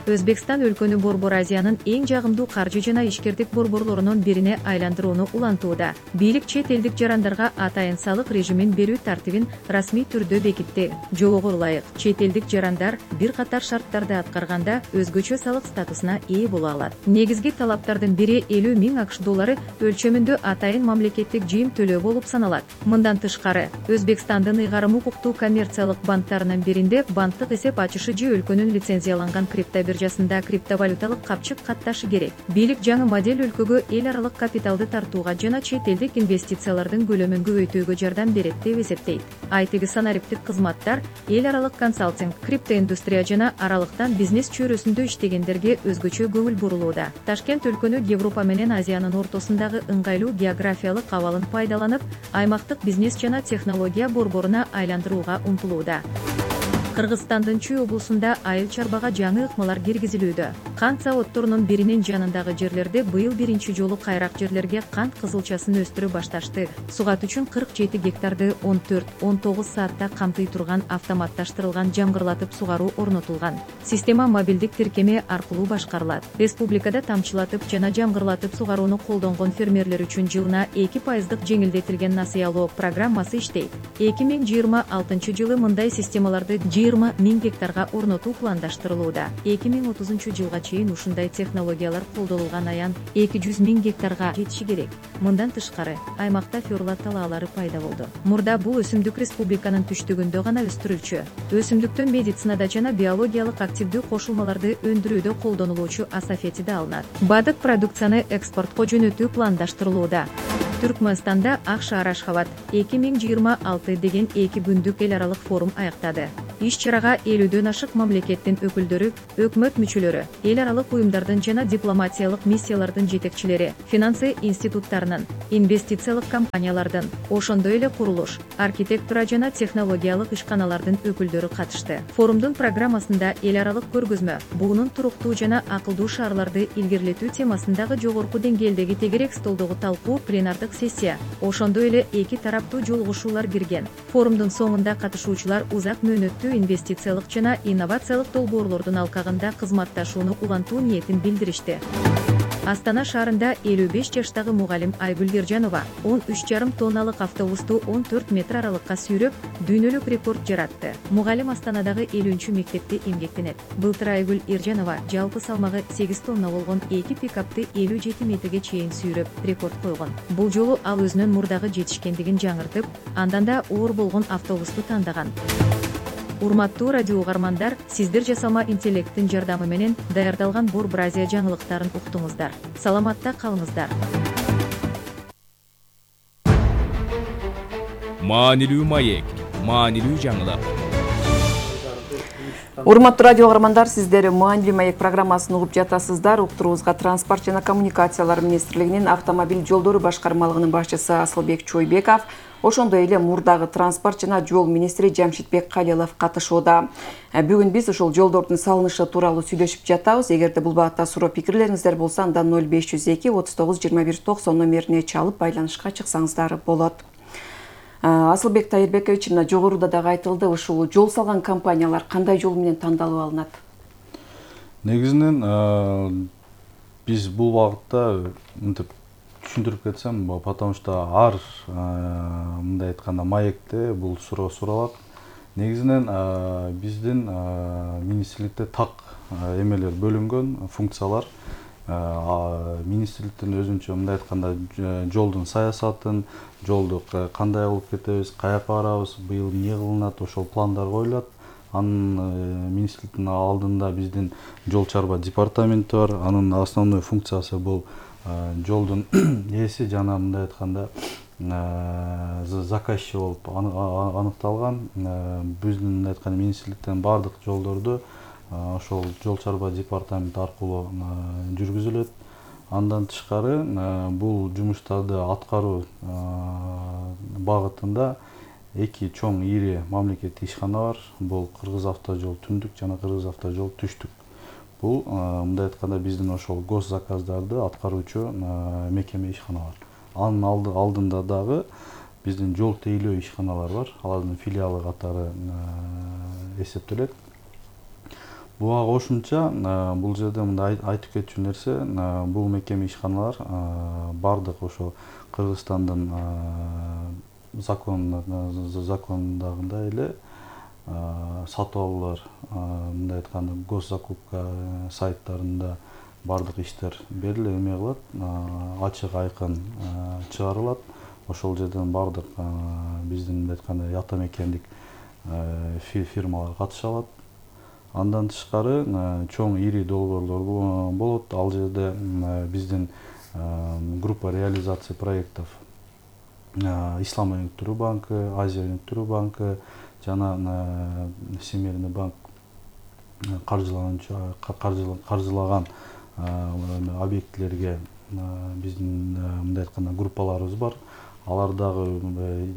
Өзбекстан өлкөнү Борбор Азиянын эң жагымдуу каржы жана ишкердик борборлорунун бирине айландырууну улантууда. Бийлик чет элдик жарандарга атайын салык режимин берүү тартибин расмий түрдө бекитти. Жолого ылайык, чет элдик жарандар бир катар шарттарды аткарганда өзгөчө салык статусуна ээ боло алат. Негизги талаптардын бири элүү миң акш доллары өлчөмүндө атайын мамлекеттик жыйым төлөө болуп саналат. Мындан тышкары, Өзбекстандын ыйгарым укуктуу коммерциялык банктарынын биринде банктык эсеп ачышы же өлкөнүн лицензияланган крипто биржасында криптовалюталык капчык катташы керек. Бийлик жаңы модель өлкөгө эл аралык капиталды тартууга жана чет элдик инвестициялардын көлөмүн көбөйтүүгө жардам берет деп эсептейт. Айтиги санариптик кызматтар, эл аралык консалтинг, криптоиндустрия жана аралыктан бизнес чөйрөсүндө иштегендерге өзгөчө көңүл бурулууда. Ташкент өлкөнү Европа менен Азиянын ортосундагы ыңгайлуу географиялык абалын пайдаланып, аймактык бизнес жана технология борборуна айландырууга умтулууда. Кыргызстандын Чүй облусунда айыл чарбага жаңы ыкмалар киргизилүүдө. Кант заводдорунун биринин жанындагы жерлерде быйыл биринчи жолу кайрак жерлерге кант кызылчасын өстүрө башташты. Сугат үчүн кырк жети гектарды он төрт он тогуз саатта камтый турган автоматташтырылган жамгырлатып сугаруу орнотулган. Система мобилдик тиркеме аркылуу башкарылат. Республикада тамчылатып жана жамгырлатып сугарууну колдонгон фермерлер үчүн жылына эки пайыздык жеңилдетилген насыялоо программасы иштейт. эки миң жыйырма алтынчы жылы мындай системаларды жыйырма миң гектарга орнотуу пландаштырылууда. эки миң отузунчу жылга чейин ушундай технологиялар колдонулган аян эки жүз миң гектарга жетиши керек. Мындан тышкары, аймакта ферла талаалары пайда болду. Мурда бул өсүмдүк республиканын түштүгүндө гана өстүрүлчү. Өсүмдүктөн медицинада жана биологиялык активдүү кошулмаларды өндүрүүдө колдонулуучу асафети да алынат. Бадык продукцияны экспортко жөнөтүү пландаштырылууда. Түркмөнстанда Ак шаар Ашхабад эки миң жыйырма алты деген эки күндүк эл аралык форум аяктады. иш чарага элүүдөн ашык мамлекеттин өкүлдөрү, өкмөт мүчөлөрү, эл аралык уюмдардын жана дипломатиялык миссиялардын жетекчилери, финансы институттарынын, инвестициялык компаниялардын, ошондой эле курулуш, архитектура жана технологиялык ишканалардын өкүлдөрү катышты. Форумдун программасында эл аралык көргөзмө, буунун туруктуу жана акылдуу шаарларды илгерилетүү темасындагы жогорку деңгээлдеги тегерек столдогу талкуу, пленардык сессия, ошондой эле эки тараптуу жолугушуулар кирген. Форумдун соңунда катышуучулар узак мөөнөттүү инвестициялык жана инновациялык долбоорлордун алкагында кызматташууну улантуу ниетин билдиришти. Астана шаарында элүү беш жаштагы мугалим Айгүл Ержанова он үч жарым тонналык автобусту он төрт метр аралыкка сүйрөп, дүйнөлүк рекорд жаратты. Мугалим Астанадагы элүүнчү мектепте эмгектенет. Былтыр Айгүл Ержанова жалпы салмагы сегиз тонна болгон эки пикапты элүү жети метрге чейин сүйрөп, рекорд койгон. Бул жолу ал өзүнүн мурдагы жетишкендигин жаңыртып, андан да оор болгон автобусту тандаган. Урматтуу радио угармандар, сиздер жасалма интеллекттин жардамы менен даярдалган Борбор Азия жаңылыктарын уктуңуздар. Саламатта калыңыздар. Маанилүү маек, маанилүү жаңылык. Урматтуу радио угармандар, сиздер Маанилүү маек программасын угуп жатасыздар. Уктуруубузга Транспорт жана коммуникациялар министрлигинин автомобиль жолдору башкармалыгынын башчысы Асылбек Чойбеков, ошондой эле мурдагы транспорт жана жол министри Жамшитбек Калилов катышууда. Бүгүн биз ошол жолдордун салынышы тууралуу сүйлөшүп жатабыз. Эгерде бул багытта суроо пикирлериңиздер болсо, анда ноль беш жүз эки отуз тогуз жыйырма бир токсон номерине чалып байланышка чыксаңыздар болот. Асылбек Тайырбекович, мына жогоруда дагы айтылды, ушул жол салган компаниялар кандай жол менен тандалып алынат? Негизинен биз бул багытта мынтип түшүндүрүп кетсем, потому что ар мындай айтканда маекте бул суроо суралат. Негизинен биздин министрликте так эмелер бөлүнгөн, функциялар. Министрликтин өзүнчө мындай айтканда жолдун саясатын, жолду кандай алып кетебиз, каяка барабыз, быйыл эмне кылынат, ошол пландар коюлат. Анын министрликтин алдында биздин жол чарба департаменти бар. Анын основной функциясы бул жолдун ээси жана мындай айтканда заказчы болуп аныкталган. Биздин мындай айтканда министрликтен бардык жолдорду ошол жол чарба департаменти аркылуу жүргүзүлөт. Андан тышкары бул жумуштарды аткаруу багытында эки чоң ири мамлекеттик ишкана бар. Бул Кыргыз автожол түндүк жана Кыргыз автожол түштүк. Бул мындай айтканда биздин ошол гос заказдарды аткаруучу мекеме ишканалар. Анын алдында дагы биздин жол тейлөө ишканалар бар. Алардын филиалы катары эсептелет. Буга кошумча бул жерде мындай айтып кетчү нерсе, бул мекеме ишканалар бардык ошо Кыргызстандын законундагындай эле сатып алуулар, мындай айтканда госзакупка сайттарында бардык иштер берилип эме кылат, ачык айкын чыгарылат. Ошол жерден бардык биздин мындай айтканда атамекендик фирмалар катыша алат. Андан тышкары чоң ири долбоорлор болот. Ал жерде биздин группа реализации проектов Ислам өнүктүрүү банкы, Азия өнүктүрүү банкы жана Семейный банк каржылаган объектилерге биздин мындай айтканда группаларыбыз бар. Алар дагы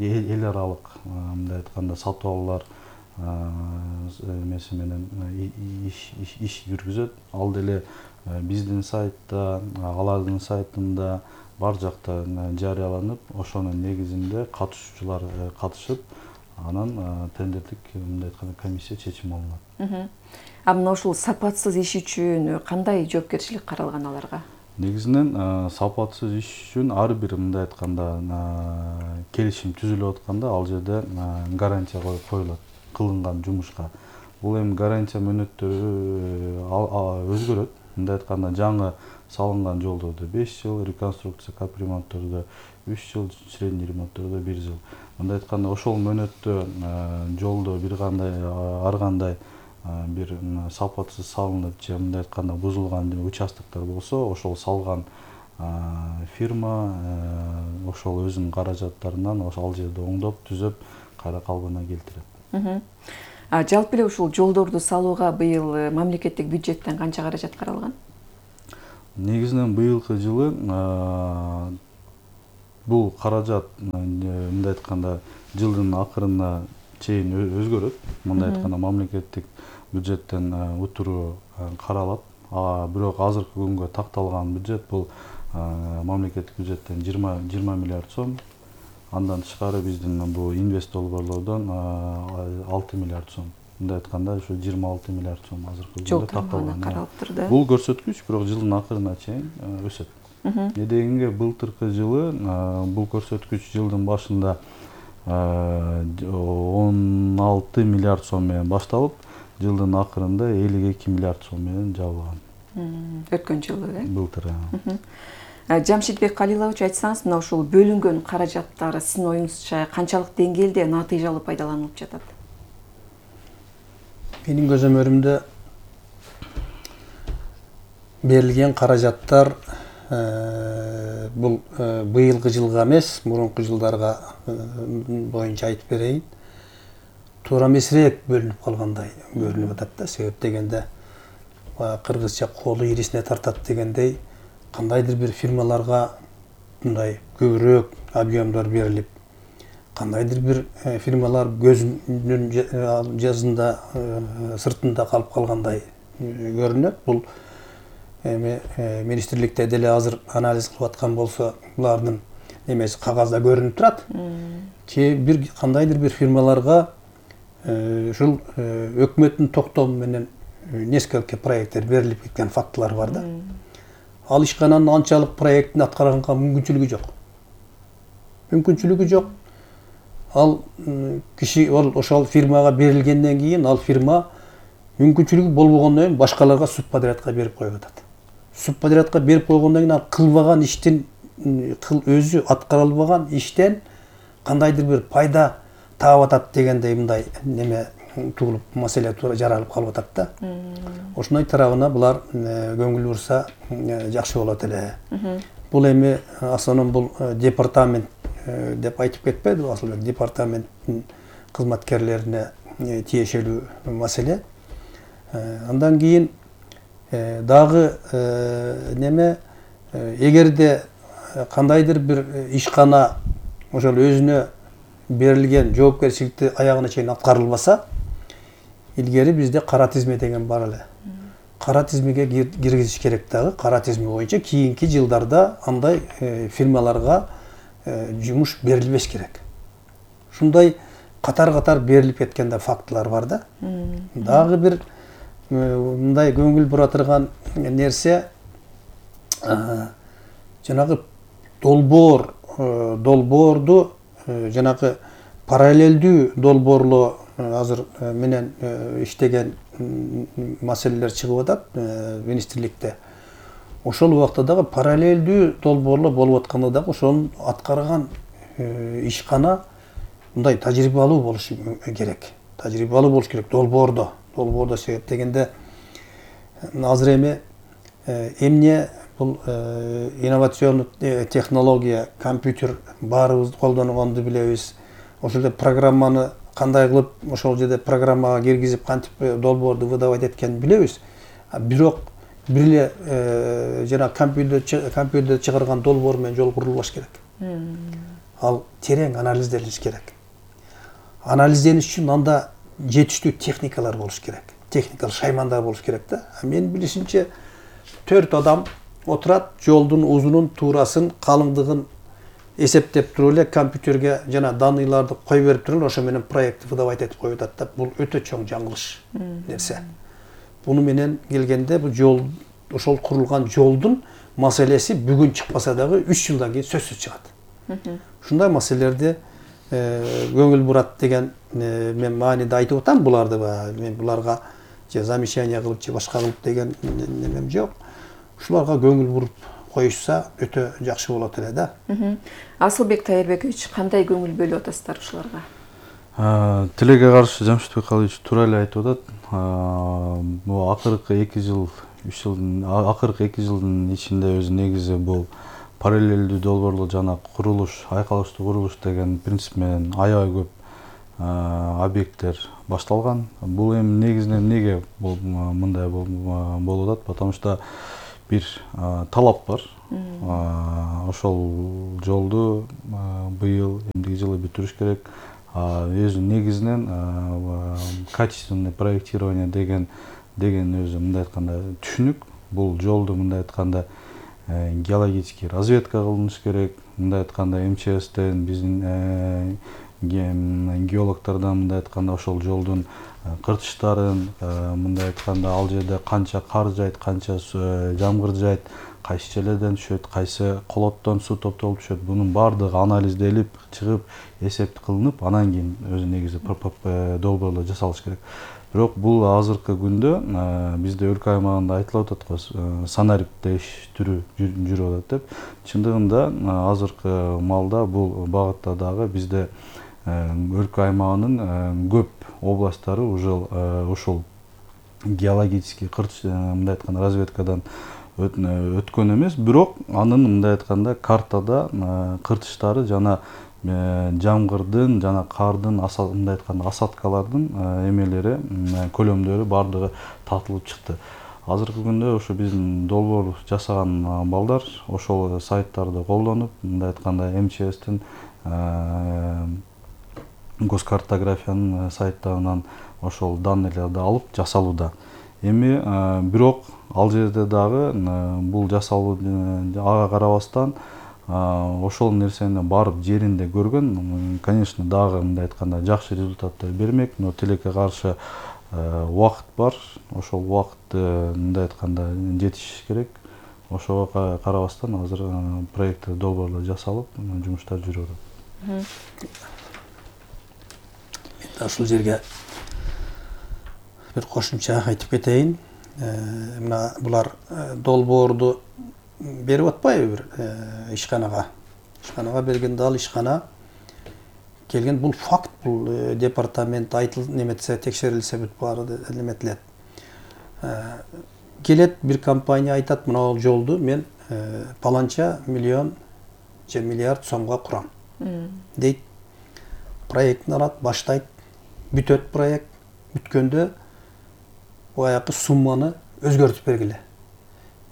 эл аралык мындай айтканда сатып алуулар эмеси менен иш жүргүзөт. Ал деле биздин сайтта, алардын сайтында бар жакта жарыяланып, ошонун негизинде катышуучулар катышып, анан тендердик мындай айтканда комиссия чечим алынат. А мына ушул сапатсыз иш үчүн кандай жоопкерчилик каралган аларга? Негизинен сапатсыз иш үчүн ар бир мындай айтканда келишим түзүлүп атканда ал жерде гарантия коюлат кылынган жумушка. Бул эми гарантия мөөнөттөрү өзгөрөт. Мындай айтканда жаңы салынган жолдордо беш жыл, реконструкция капремонттордо үч жыл, средний ремонттордо бир жыл. Мындай айтканда ошол мөөнөттө жолдо бир кандай ар кандай бир сапатсыз салынып же мындай айтканда бузулган участоктор болсо, ошол салган фирма ошол өзүнүн каражаттарынан ал жерди оңдоп, түзөп, кайра калыбына келтирет. Жалпы эле ушул жолдорду салууга быйыл мамлекеттик бюджеттен канча каражат каралган? Негизинен быйылкы жылы бул каражат мындай айтканда жылдын акырына чейин өзгөрөт. Мындай айтканда мамлекеттик бюджеттен утуру каралат. Бирок азыркы күнгө такталган бюджет бул мамлекеттик бюджеттен жыйырма миллиард сом. Андан тышкары биздин бул инвест долбоорлордон алты миллиард сом. Мындай айтканда ушу жыйырма алты миллиард сом азыркы күндө такталган. Каралыптыр да. Бул көрсөткүч бирок жылдын акырына чейин өсөт. Эдегенге былтыркы жылы бул көрсөткүч жылдын башында он алты миллиард сом менен башталып, жылдын акырында элүү эки миллиард сом менен жабылган. Өткөн жылы, э? Былтыр. Жамшитбек Калилович, айтсаңыз, мына ушул бөлүнгөн каражаттар сиздин оюңузча канчалык деңгээлде натыйжалуу пайдаланылып жатат? Менин көзөмөрүмдө берилген каражаттар бул быйылкы жылга эмес, мурунку жылдарга боюнча айтып берейин. Туура эмесирээк бөлүнүп калгандай көрүнүп атат да. Себеп дегенде кыргызча колу ирисине тартат дегендей, кандайдыр бир фирмаларга мындай көбүрөөк объемдор берилип, кандайдыр бир фирмалар көзүнүн жазында сыртында калып калгандай көрүнөт. Бул эми министрликте деле азыр анализ кылып аткан болсо, булардын эмеси кагазда көрүнүп турат. Ки бир кандайдыр бир фирмаларга ушул өкмөттүн токтому менен несколько проекттер берилип кеткен фактылар бар да. Ал ишкананын анчалык проекттин аткарганга мүмкүнчүлүгү жок. Мүмкүнчүлүгү жок. Ал киши ошол фирмага берилгенден кийин ал фирма мүмкүнчүлүгү болбогондон кийин башкаларга субподрядка берип коюп атат. Субподрядка берип койгондон кийин ал кылбаган иштин өзү аткара албаган иштен кандайдыр бир пайда таап атат дегендей мындай неме туулуп, маселе туура жаралып калып атат да. Ошондой тарабына булар көңүл бурса жакшы болот эле. Бул эми асанон бул департамент деп айтып кетпеди Асылбек, департаменттин кызматкерлерине тиешелүү маселе. Андан кийин дагы неме, эгерде кандайдыр бир ишкана ошол өзүнө берилген жоопкерчиликти аягына чейин аткарылбаса, илгери бизде кара тизме деген бар эле. Кара тизмеге киргизиш керек дагы. Кара тизме боюнча кийинки жылдарда андай фирмаларга жумуш берилбеш керек. Ушундай катар-катар берилип кеткен да фактылар бар да. Дагы бир мындай көңүл бура турган нерсе, жанагы долбоор, долбоорду жанагы параллелдүү долбоорлоо азыр менен иштеген маселелер чыгып атат министрликте. Ошол убакта дагы параллелдүү долбоорлоо болуп атканда дагы ошонун аткарган ишкана мындай тажрыйбалуу болушу керек. Тажрыйбалуу болуш керек долбоордо. Долбоордо себеп дегенде азыр эми эмне бул инновационный технология, компьютер баарыбыз колдонгонду билебиз. Ошол жерде программаны кандай кылып ошол жерде программага киргизип кантип долбоорду выдавать эткенин билебиз. Бирок бир эле жана компьютер компьютер чыгарган долбоор менен жол курулбаш керек. Ал терең анализделиш керек. Анализдениш үчүн анда жетиштүү техникалар болуш керек. Техникалык шаймандар болуш керек да. Менин билишимче төрт адам отурат, жолдун узунун, туурасын, калыңдыгын эсептеп туруп эле компьютерге жана данныйларды кой берип туруп ошо менен проектти выдавать этип коюп атат да. Бул өтө чоң жаңылыш нерсе. Буну менен келгенде бул жол, ошол курулган жолдун маселеси бүгүн чыкпаса дагы үч жылдан кийин сөзсүз чыгат. Ушундай маселелерди көңүл бурат деген мен мааниде айтып атам буларды. Мен буларга же замечание кылып же башка кылып деген немем жок. Ушуларга көңүл буруп коюшса өтө жакшы болот эле да. Асылбек Тайырбекович, кандай көңүл бөлүп атасыздар ушуларга? Тилеге каршы Жамшитбек Калыевич туура эле айтып атат. Бул акыркы эки жыл, үч жылдын акыркы эки жылдын ичинде өзү негизи бул параллелдүү долбоорлоо жана курулуш, айкалыштуу курулуш деген принцип менен аябай көп объекттер башталган. Бул эми негизинен эмнеге мындай болуп атат? Потому что бир талап бар. Ошол жолду быйыл эмдиги жылы бүтүрүш керек. Өзү негизинен качественное проектирование деген деген өзү мындай айтканда түшүнүк. Бул жолду мындай айтканда геологический разведка кылыныш керек. Мындай айтканда эм че эстен биздин геологтордон мындай айтканда ошол жолдун кыртыштарын, мындай айтканда ал жерде канча кар жайт, канча жамгыр жайт, кайсы жерлерден түшөт, кайсы колоттон суу топтолуп түшөт, бунун баардыгы анализделип чыгып, эсеп кылынып, анан кийин өзү негизи долбоорлор жасалыш керек. Бирок бул азыркы күндө бизде өлкө аймагында айтылып атат го, санариптер түрү жүрүп атат деп. Чындыгында азыркы малда бул багытта дагы бизде өлкө аймагынын көп областтары уже ушул геологический кыртыш мындай айтканда разведкадан өткөн эмес, бирок анын мындай айтканда картада кыртыштары жана жамгырдын жана кардын мындай айтканда осадкалардын эмелери, көлөмдөрү баардыгы тартылып чыкты. Азыркы күндө ошо биздин долбоор жасаган балдар ошол сайттарды колдонуп, мындай айтканда эм че эстин госкартографиянын сайттарынан ошол данныйларды алып жасалууда. Эми бирок ал жерде дагы бул жасалуу ага карабастан ошол нерсени барып жеринде көргөн, конечно, дагы мындай айтканда жакшы результаттар бермек, но тилекке каршы убакыт бар. Ошол убакытты мындай айтканда жетиш керек. Ошого карабастан азыр проект долбоорлор жасалып, жумуштар жүрүп атат. Ушул жерге бир кошумча айтып кетейин. Мына булар долбоорду берип атпайбы бир ишканага. Ишканага бергенде ал ишкана келген, бул факт, бул департамент айтыл неметсе, текшерилсе бүт баары неметилет. Келет бир компания айтат, мына жолду мен паланча миллион же миллиард сомго курам дейт. Проектин алат, баштайт, бүтөт проект. Бүткөндө баягы сумманы өзгөртүп бергиле.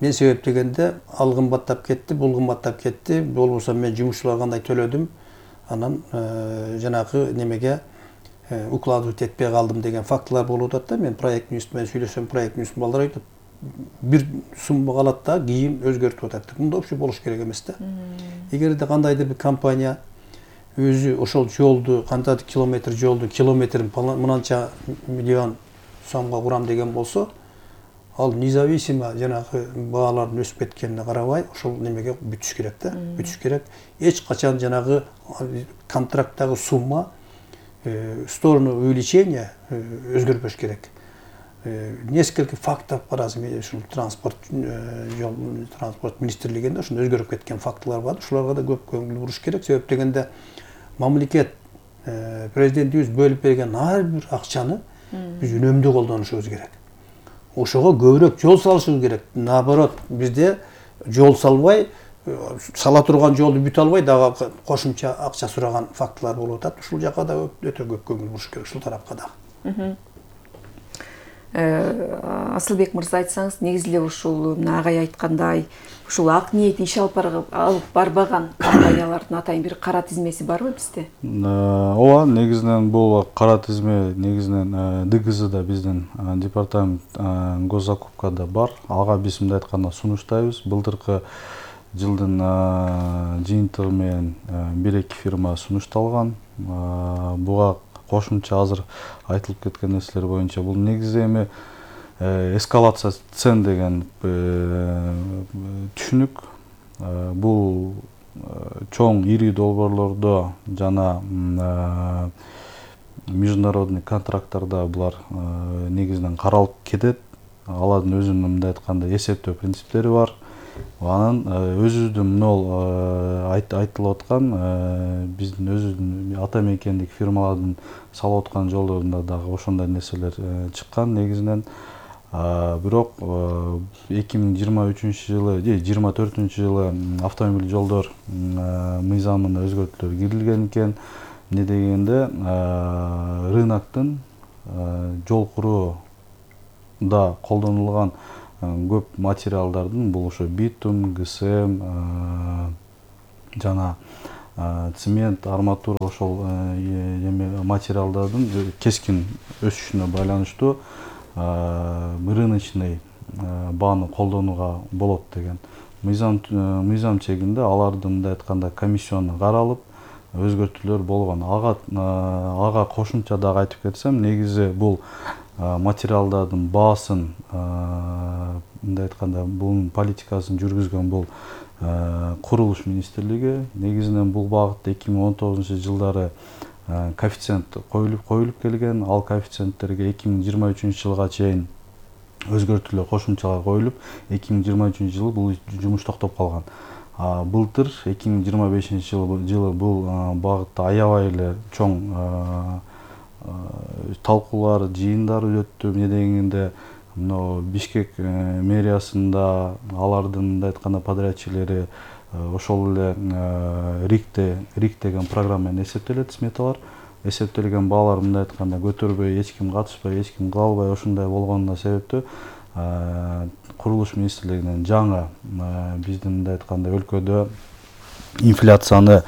Мен себеп дегенде ал кымбаттап кетти, бул кымбаттап кетти, болбосо мен жумушчуларга кандай төлөдүм, анан жанагы немеге укладывать этпей калдым деген фактылар болуп атат да. Мен проекттин үстүнөн сүйлөсөм, проекттин үстүнөн балдар айтат, бир сумма калат да, кийин өзгөртүп атат. Мында вообще болуш керек эмес да. Эгерде кандайдыр бир компания өзү ошол жолду, кантип километр жолду, километрин мынанча миллион сомго курам деген болсо, ал независимо жанагы баалардын өсүп кеткенине карабай, ошол немеге бүтүш керек да, бүтүш керек. Эч качан жанагы контракттагы сумма в сторону увеличения өзгөрбөш керек. Несколько фактов бар азыр ушул транспорт жол транспорт министрлигинде ошондой өзгөрүп кеткен фактылар бар. Ушуларга да көп көңүл буруш керек. Себеп дегенде мамлекет президентибиз бөлүп берген ар бир акчаны биз үнөмдүү колдонушубуз керек. Ошого көбүрөөк жол салышыбыз керек. Наоборот, бизде жол салбай, сала турган жолду бүтө албай дагы кошумча акча сураган фактылар болуп атат. Ушул жакка да өтө көп көңүл буруш керек, ушул тарапка дагы. Асылбек мырза, айтсаңыз, негизи эле ушул агай айткандай, ушул ак ниет иш алып барбаган компаниялардын атайын бир кара тизмеси барбы бизде? Ооба, негизинен бул кара тизме негизинен ДГЗда биздин департамент госзакупкада бар. Ага биз мындай айтканда сунуштайбыз. Былтыркы жылдын жыйынтыгы менен бир эки фирма сунушталган. Буга кошумча азыр айтылып кеткен нерселер боюнча бул негизи эми эскалация цен деген түшүнүк. Бул чоң ири долбоорлордо жана международный контракттарда булар негизинен каралып кетет. Алардын өзүнүн мындай айтканда эсептөө принциптери бар. Анан өзүбүздүн мынол айтылып аткан биздин өзүбүздүн ата мекендик фирмалардын салып аткан жолдорунда дагы ошондой нерселер чыккан негизинен. Бирок эки миң жыйырма үчүнчү жылы, жыйырма төртүнчү жылы автомобиль жолдор мыйзамына өзгөртүүлөр кирилген экен. эмне дегенде рыноктун жол курууда колдонулган көп материалдардын бул ошо битум, ГСМ жана цемент, арматура ошол эме материалдардын кескин өсүшүнө байланыштуу рыночный бааны колдонууга болот деген мыйзам мыйзам чегинде алардын мындай айтканда комиссиону каралып өзгөртүүлөр болгон. Ага ага кошумча дагы айтып кетсем, негизи бул материалдардын баасын мындай айтканда бунун политикасын жүргүзгөн бул курулуш министрлиги. Негизинен бул багытта эки миң он тогузунчу жылдары коэффициент коюлуп коюлуп келген. Ал коэффициенттерге эки миң жыйырма үчүнчү жылга чейин өзгөртүүлөр, кошумчалар коюлуп, эки миң жыйырма үчүнчү жылы бул жумуш токтоп калган. Былтыр эки миң жыйырма бешинчи жылы бул багытта аябай эле чоң талкуулар, жыйындар өттү. Эмне дегенде мына Бишкек мэриясында алардын мындай айтканда подрядчиклери ошол эле рикте рик деген программа менен эсептелет, сметалар эсептелген баалар мындай айтканда көтөрбөй, эч ким катышпай, эч ким кыла албай ошондой болгонуна себептүү курулуш министрлигинен жаңы биздин мындай айтканда өлкөдө инфляцияны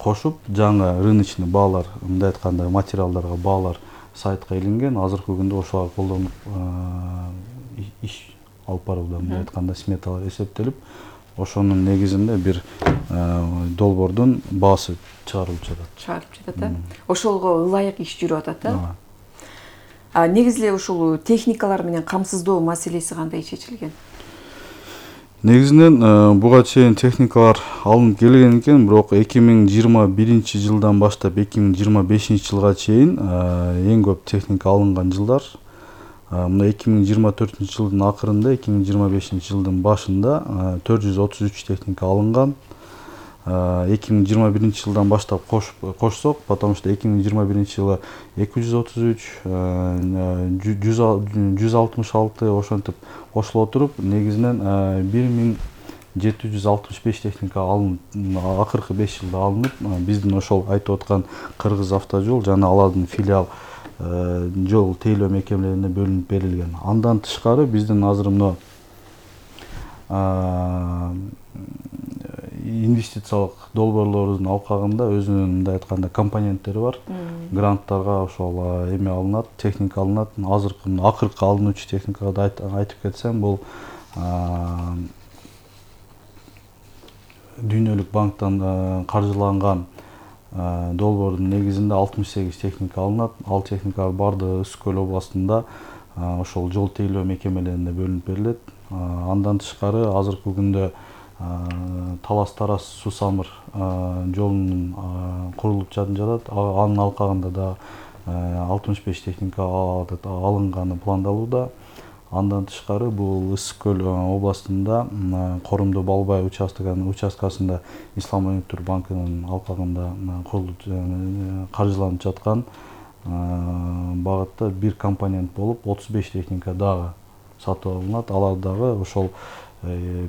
кошуп, жаңы рыночный баалар, мындай айтканда материалдарга баалар сайтка илинген. Азыркы күндө ошолар колдонуп иш алып барууда, мындай айтканда сметалар эсептелип, ошонун негизинде бир долбоордун баасы чыгарылып жатат. Чыгарылып жатат, э? Ошолго ылайык иш жүрүп атат, э? А негизи эле ушул техникалар менен камсыздоо маселеси кандай чечилген? Негизинен буга чейин техникалар алынып келген экен, бирок эки миң жыйырма биринчи жылдан баштап эки миң жыйырма бешинчи жылга чейин эң көп техника алынган жылдар. Мына эки миң жыйырма төртүнчү жылдын акырында, эки миң жыйырма бешинчи жылдын башында төрт жүз отуз үч техника алынган. эки миң жыйырма биринчи жылдан баштап кошсок, потому что эки миң жыйырма биринчи жылы эки жүз отуз үч, жүз алтымыш алты ошентип кошуло отуруп, негизинен бир миң жети жүз алтымыш беш техника алынып, акыркы беш жылда алынып, биздин ошол айтып аткан Кыргыз автожол жана алардын филиал жол тейлөө мекемелерине бөлүнүп берилген. Андан тышкары биздин азыр мына инвестициялык долбоорлордун алкагында өзүнүн мындай айтканда компоненттери бар. Гранттарга ошол эме алынат, техника алынат. Азыркы акыркы алынуучу техникада айтып кетсем, бул Дүйнөлүк банктан каржыланган долбоордун негизинде алтымыш сегиз техника алынат. Ал техникалар бардыгы Ысык көл областында ошол жол тейлөө мекемелерине бөлүнүп берилет. Андан тышкары азыркы күндө Талас-Тарас Сусамыр жолунун курулуп жатат. Анын алкагында да алтымыш беш техника алынганы пландалууда. Андан тышкары бул Ысык көл областында Корумду Балбай участкасында Ислам өнүктүрүү банкынын алкагында курулуп каржыланып жаткан багытта бир компонент болуп отуз беш техника дагы сатып алынат. Алар дагы ошол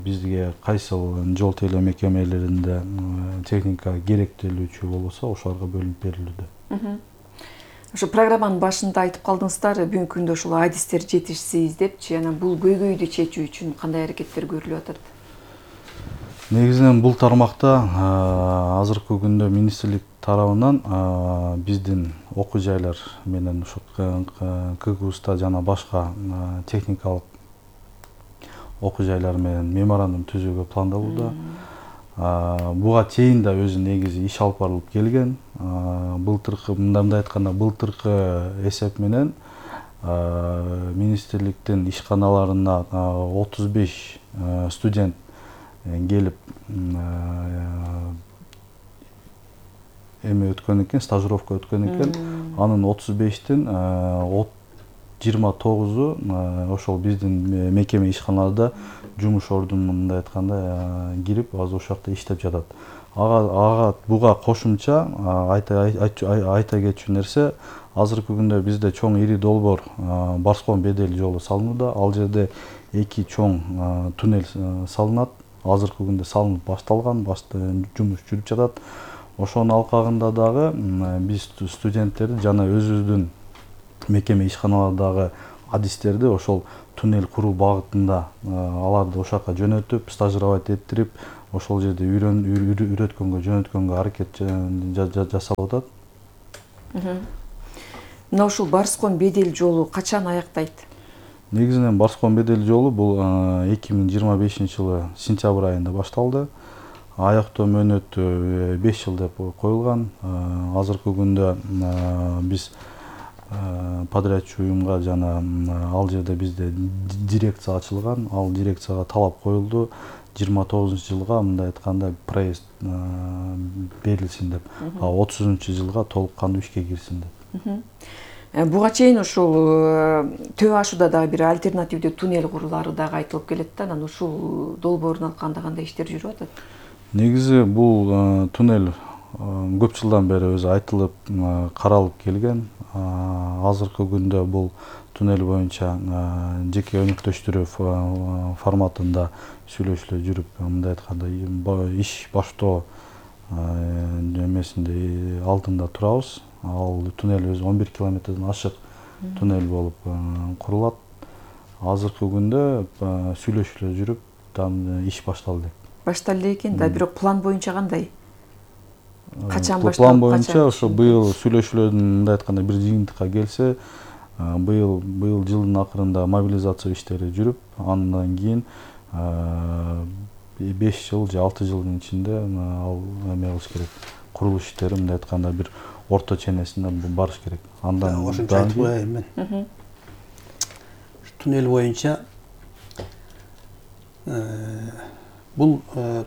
бизге кайсыл жол тейлөө мекемелеринде техника керектелүүчү болсо ошолорго бөлүнүп берилүүдө. Ошо программанын башында айтып калдыңыздар, бүгүнкү күндө ушул адистер жетишсиз депчи, анан бул көйгөйдү чечүү үчүн кандай аракеттер көрүлүп атат? Негизинен бул тармакта азыркы күндө министрлик тарабынан биздин окуу жайлар менен ушу КГУста жана башка техникалык окуу жайлар менен меморандум түзүүгө пландалууда. Буга чейин да өзү негизи иш алып барылып келген. Былтыркы мындай айтканда былтыркы эсеп менен министрликтин ишканаларына отуз беш студент келип эме өткөн экен, стажировка өткөн экен. Анын отуз бештин жыйырма тогузу ошол биздин мекеме ишканаларда жумуш ордуна мындай айтканда кирип, азыр ошол жакта иштеп жатат. Ага буга кошумча айта кетчү нерсе, азыркы күндө бизде чоң ири долбоор Барскон Бедел жолу салынууда. Ал жерде эки чоң туннель салынат. Азыркы күндө салынып башталган, жумуш жүрүп жатат. Ошонун алкагында дагы биз студенттерди жана өзүбүздүн мекеме ишканалардагы адистерди ошол туннель куруу багытында аларды ошака жөнөтүп, стажировать эттирип, ошол жерде үйрөткөнгө, жөнөткөнгө аракет жасалып атат. Мына ушул Барскон Бедел жолу качан аяктайт? Негизинен Барскон Бедел жолу бул эки миң жыйырма бешинчи жылы сентябрь айында башталды. Аяктоо мөөнөтү беш жыл деп коюлган. Азыркы күндө биз подрядчы уюмга жана ал жерде бизде дирекция ачылган. Ал дирекцияга талап коюлду. жыйырма тогузунчу жылга мындай айтканда проект берилсин деп, а отузунчу жылга толук кандуу ишке кирсин деп. Буга чейин ушул Төө ашууда дагы бир альтернативдүү туннель курулары дагы айтылып келет да, анан ушул долбоорун алканда кандай иштер жүрүп атат? Негизи бул туннель көп жылдан бери өзү айтылып, каралып келген. Азыркы күндө бул туннель боюнча жеке өнөктөштүрүү форматында сүйлөшүүлөр жүрүп, мындай айтканда иш баштоо эмесинде алдында турабыз. Ал туннель өзү он бир километрден ашык туннель болуп курулат. Азыркы күндө сүйлөшүүлөр жүрүп, там иш башталды. Башталды экен да, бирок план боюнча кандай? Качан башталып? План боюнча ошо быйыл сүйлөшүүлөрдүн мындай айтканда бир жыйынтыкка келсе, быйыл быйыл жылдын акырында мобилизация иштери жүрүп, андан кийин беш жыл же алты жылдын ичинде ал эме кылыш керек. Курулуш иштери мындай айтканда бир орто ченесине барыш керек. Андан ошончо айтып коеюн мен. Туннель боюнча бул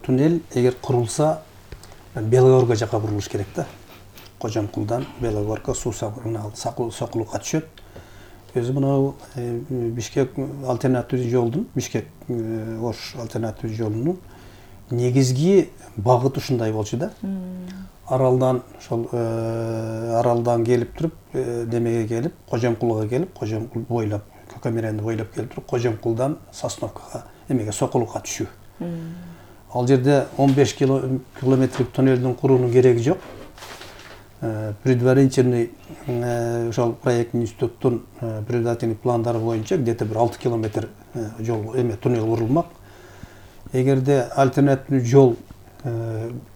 туннель эгер курулса Белогорго жака бурулуш керек да. Кожомкулдан Белогорго суу сабырына Сокулукка түшөт. Өзү мына Бишкек альтернативдүү жолдун, Бишкек Ош альтернативдүү жолунун негизги багыты ушундай болчу да. Аралдан ошол аралдан келип туруп, немеге келип, Кожомкулга келип, Кожомкул бойлоп, Көкөмеренди бойлоп келип туруп, Кожомкулдан Сосновкага, эмеге Сокулукка түшүү. Ал жерде он беш километрлик туннелдин куруунун кереги жок. Предварительный ошол проектный институттун предварительный пландары боюнча где-то бир алты километр жол эме туннель курулмак. Эгерде альтернативдүү жол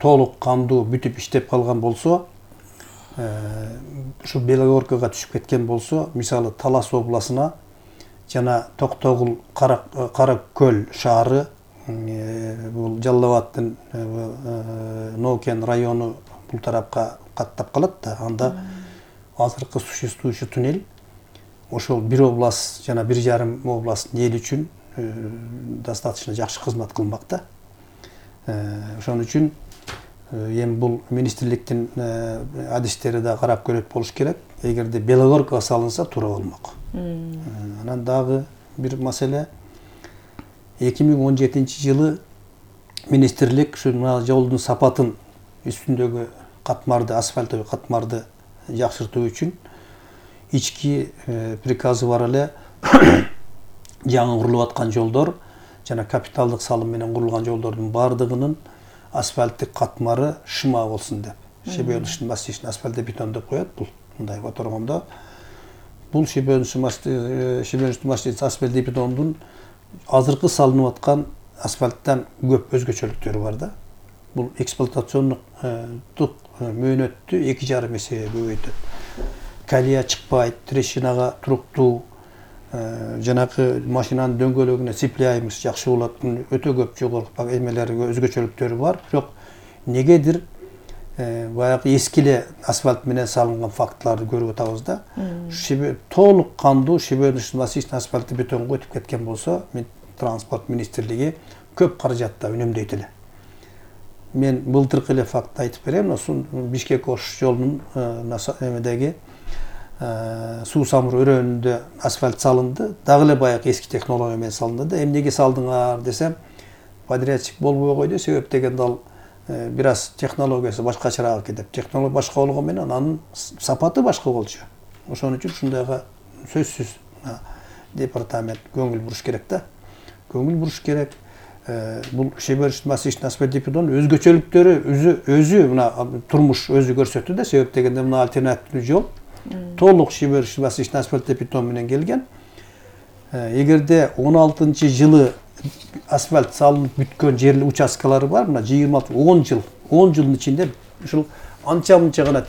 толук кандуу бүтүп иштеп калган болсо, ушу Белогоркага түшүп кеткен болсо, мисалы Талас областына жана Токтогул Каракөл шаары, бул Жалал Абадтын Ноукен району бул тарапка каттап калат да. Анда азыркы существующий туннель ошол бир область жана бир жарым областтын эли үчүн достаточно жакшы кызмат кылмак да. Ошон үчүн эми бул министрликтин адистери да карап көрөт болуш керек. Эгерде Белогоркага салынса туура болмок. Анан дагы бир маселе, эки миң он жетинчи жылы министрлик ушу жолдун сапатын үстүндөгү катмарды, асфальттагы катмарды жакшыртуу үчүн ички приказы бар эле жаңы курулуп аткан жолдор жана капиталдык салым менен курулган жолдордун баардыгынын асфальттык катмары шыма болсун деп. Шебеночный мастичный асфальт бетон деп коет бул. Мындай которгондо бул шебеночный мастичный асфальт бетондун азыркы салынып аткан асфальттан көп өзгөчөлүктөрү бар да. Бул эксплуатациондук мөөнөттү эки жарым эсе көбөйтөт. Калия чыкпайт, трещинага туруктуу, жанакы машинанын дөңгөлөгүнө цепляемость жакшы болот. Өтө көп жогорку эмелери өзгөчөлүктөрү бар. Бирок негедир баягы эскиле асфальт менен салынган фактыларды көрүп атабыз да. Толук кандуу шебеночный мастичный асфальт бетонго өтүп кеткен болсо, транспорт министрлиги көп каражатта үнөмдөйт эле. Мен былтыркы эле факт айтып берем. Ошол Бишкек Ош жолунун эмедеги суу самыр өрөөнүндө асфальт салынды. Дагы эле баягы эски технология менен салынды да. Эмнеге салдыңар десем, подрядчик болбой койду. Себеп дегенде ал бир аз технологиясы башкачараак экен деп. Технология башка болгон менен анын сапаты башка болчу. Ошон үчүн ушундайга сөзсүз департамент көңүл буруш керек да. Көңүл буруш керек. бул шеберчилик массивный асфальттик бетон өзгөчөлүктөрү өзү өзү мына турмуш өзү көрсөттү да, себеп дегенде мына альтернативдүү жол толук шеберчилик массивный асфальттик бетон менен келген. Эгерде он алтынчы жылы асфальт салынып бүткөн жер участкалары бар, мына жыйырма алты он жыл, он жылдын ичинде ушул анча мынча гана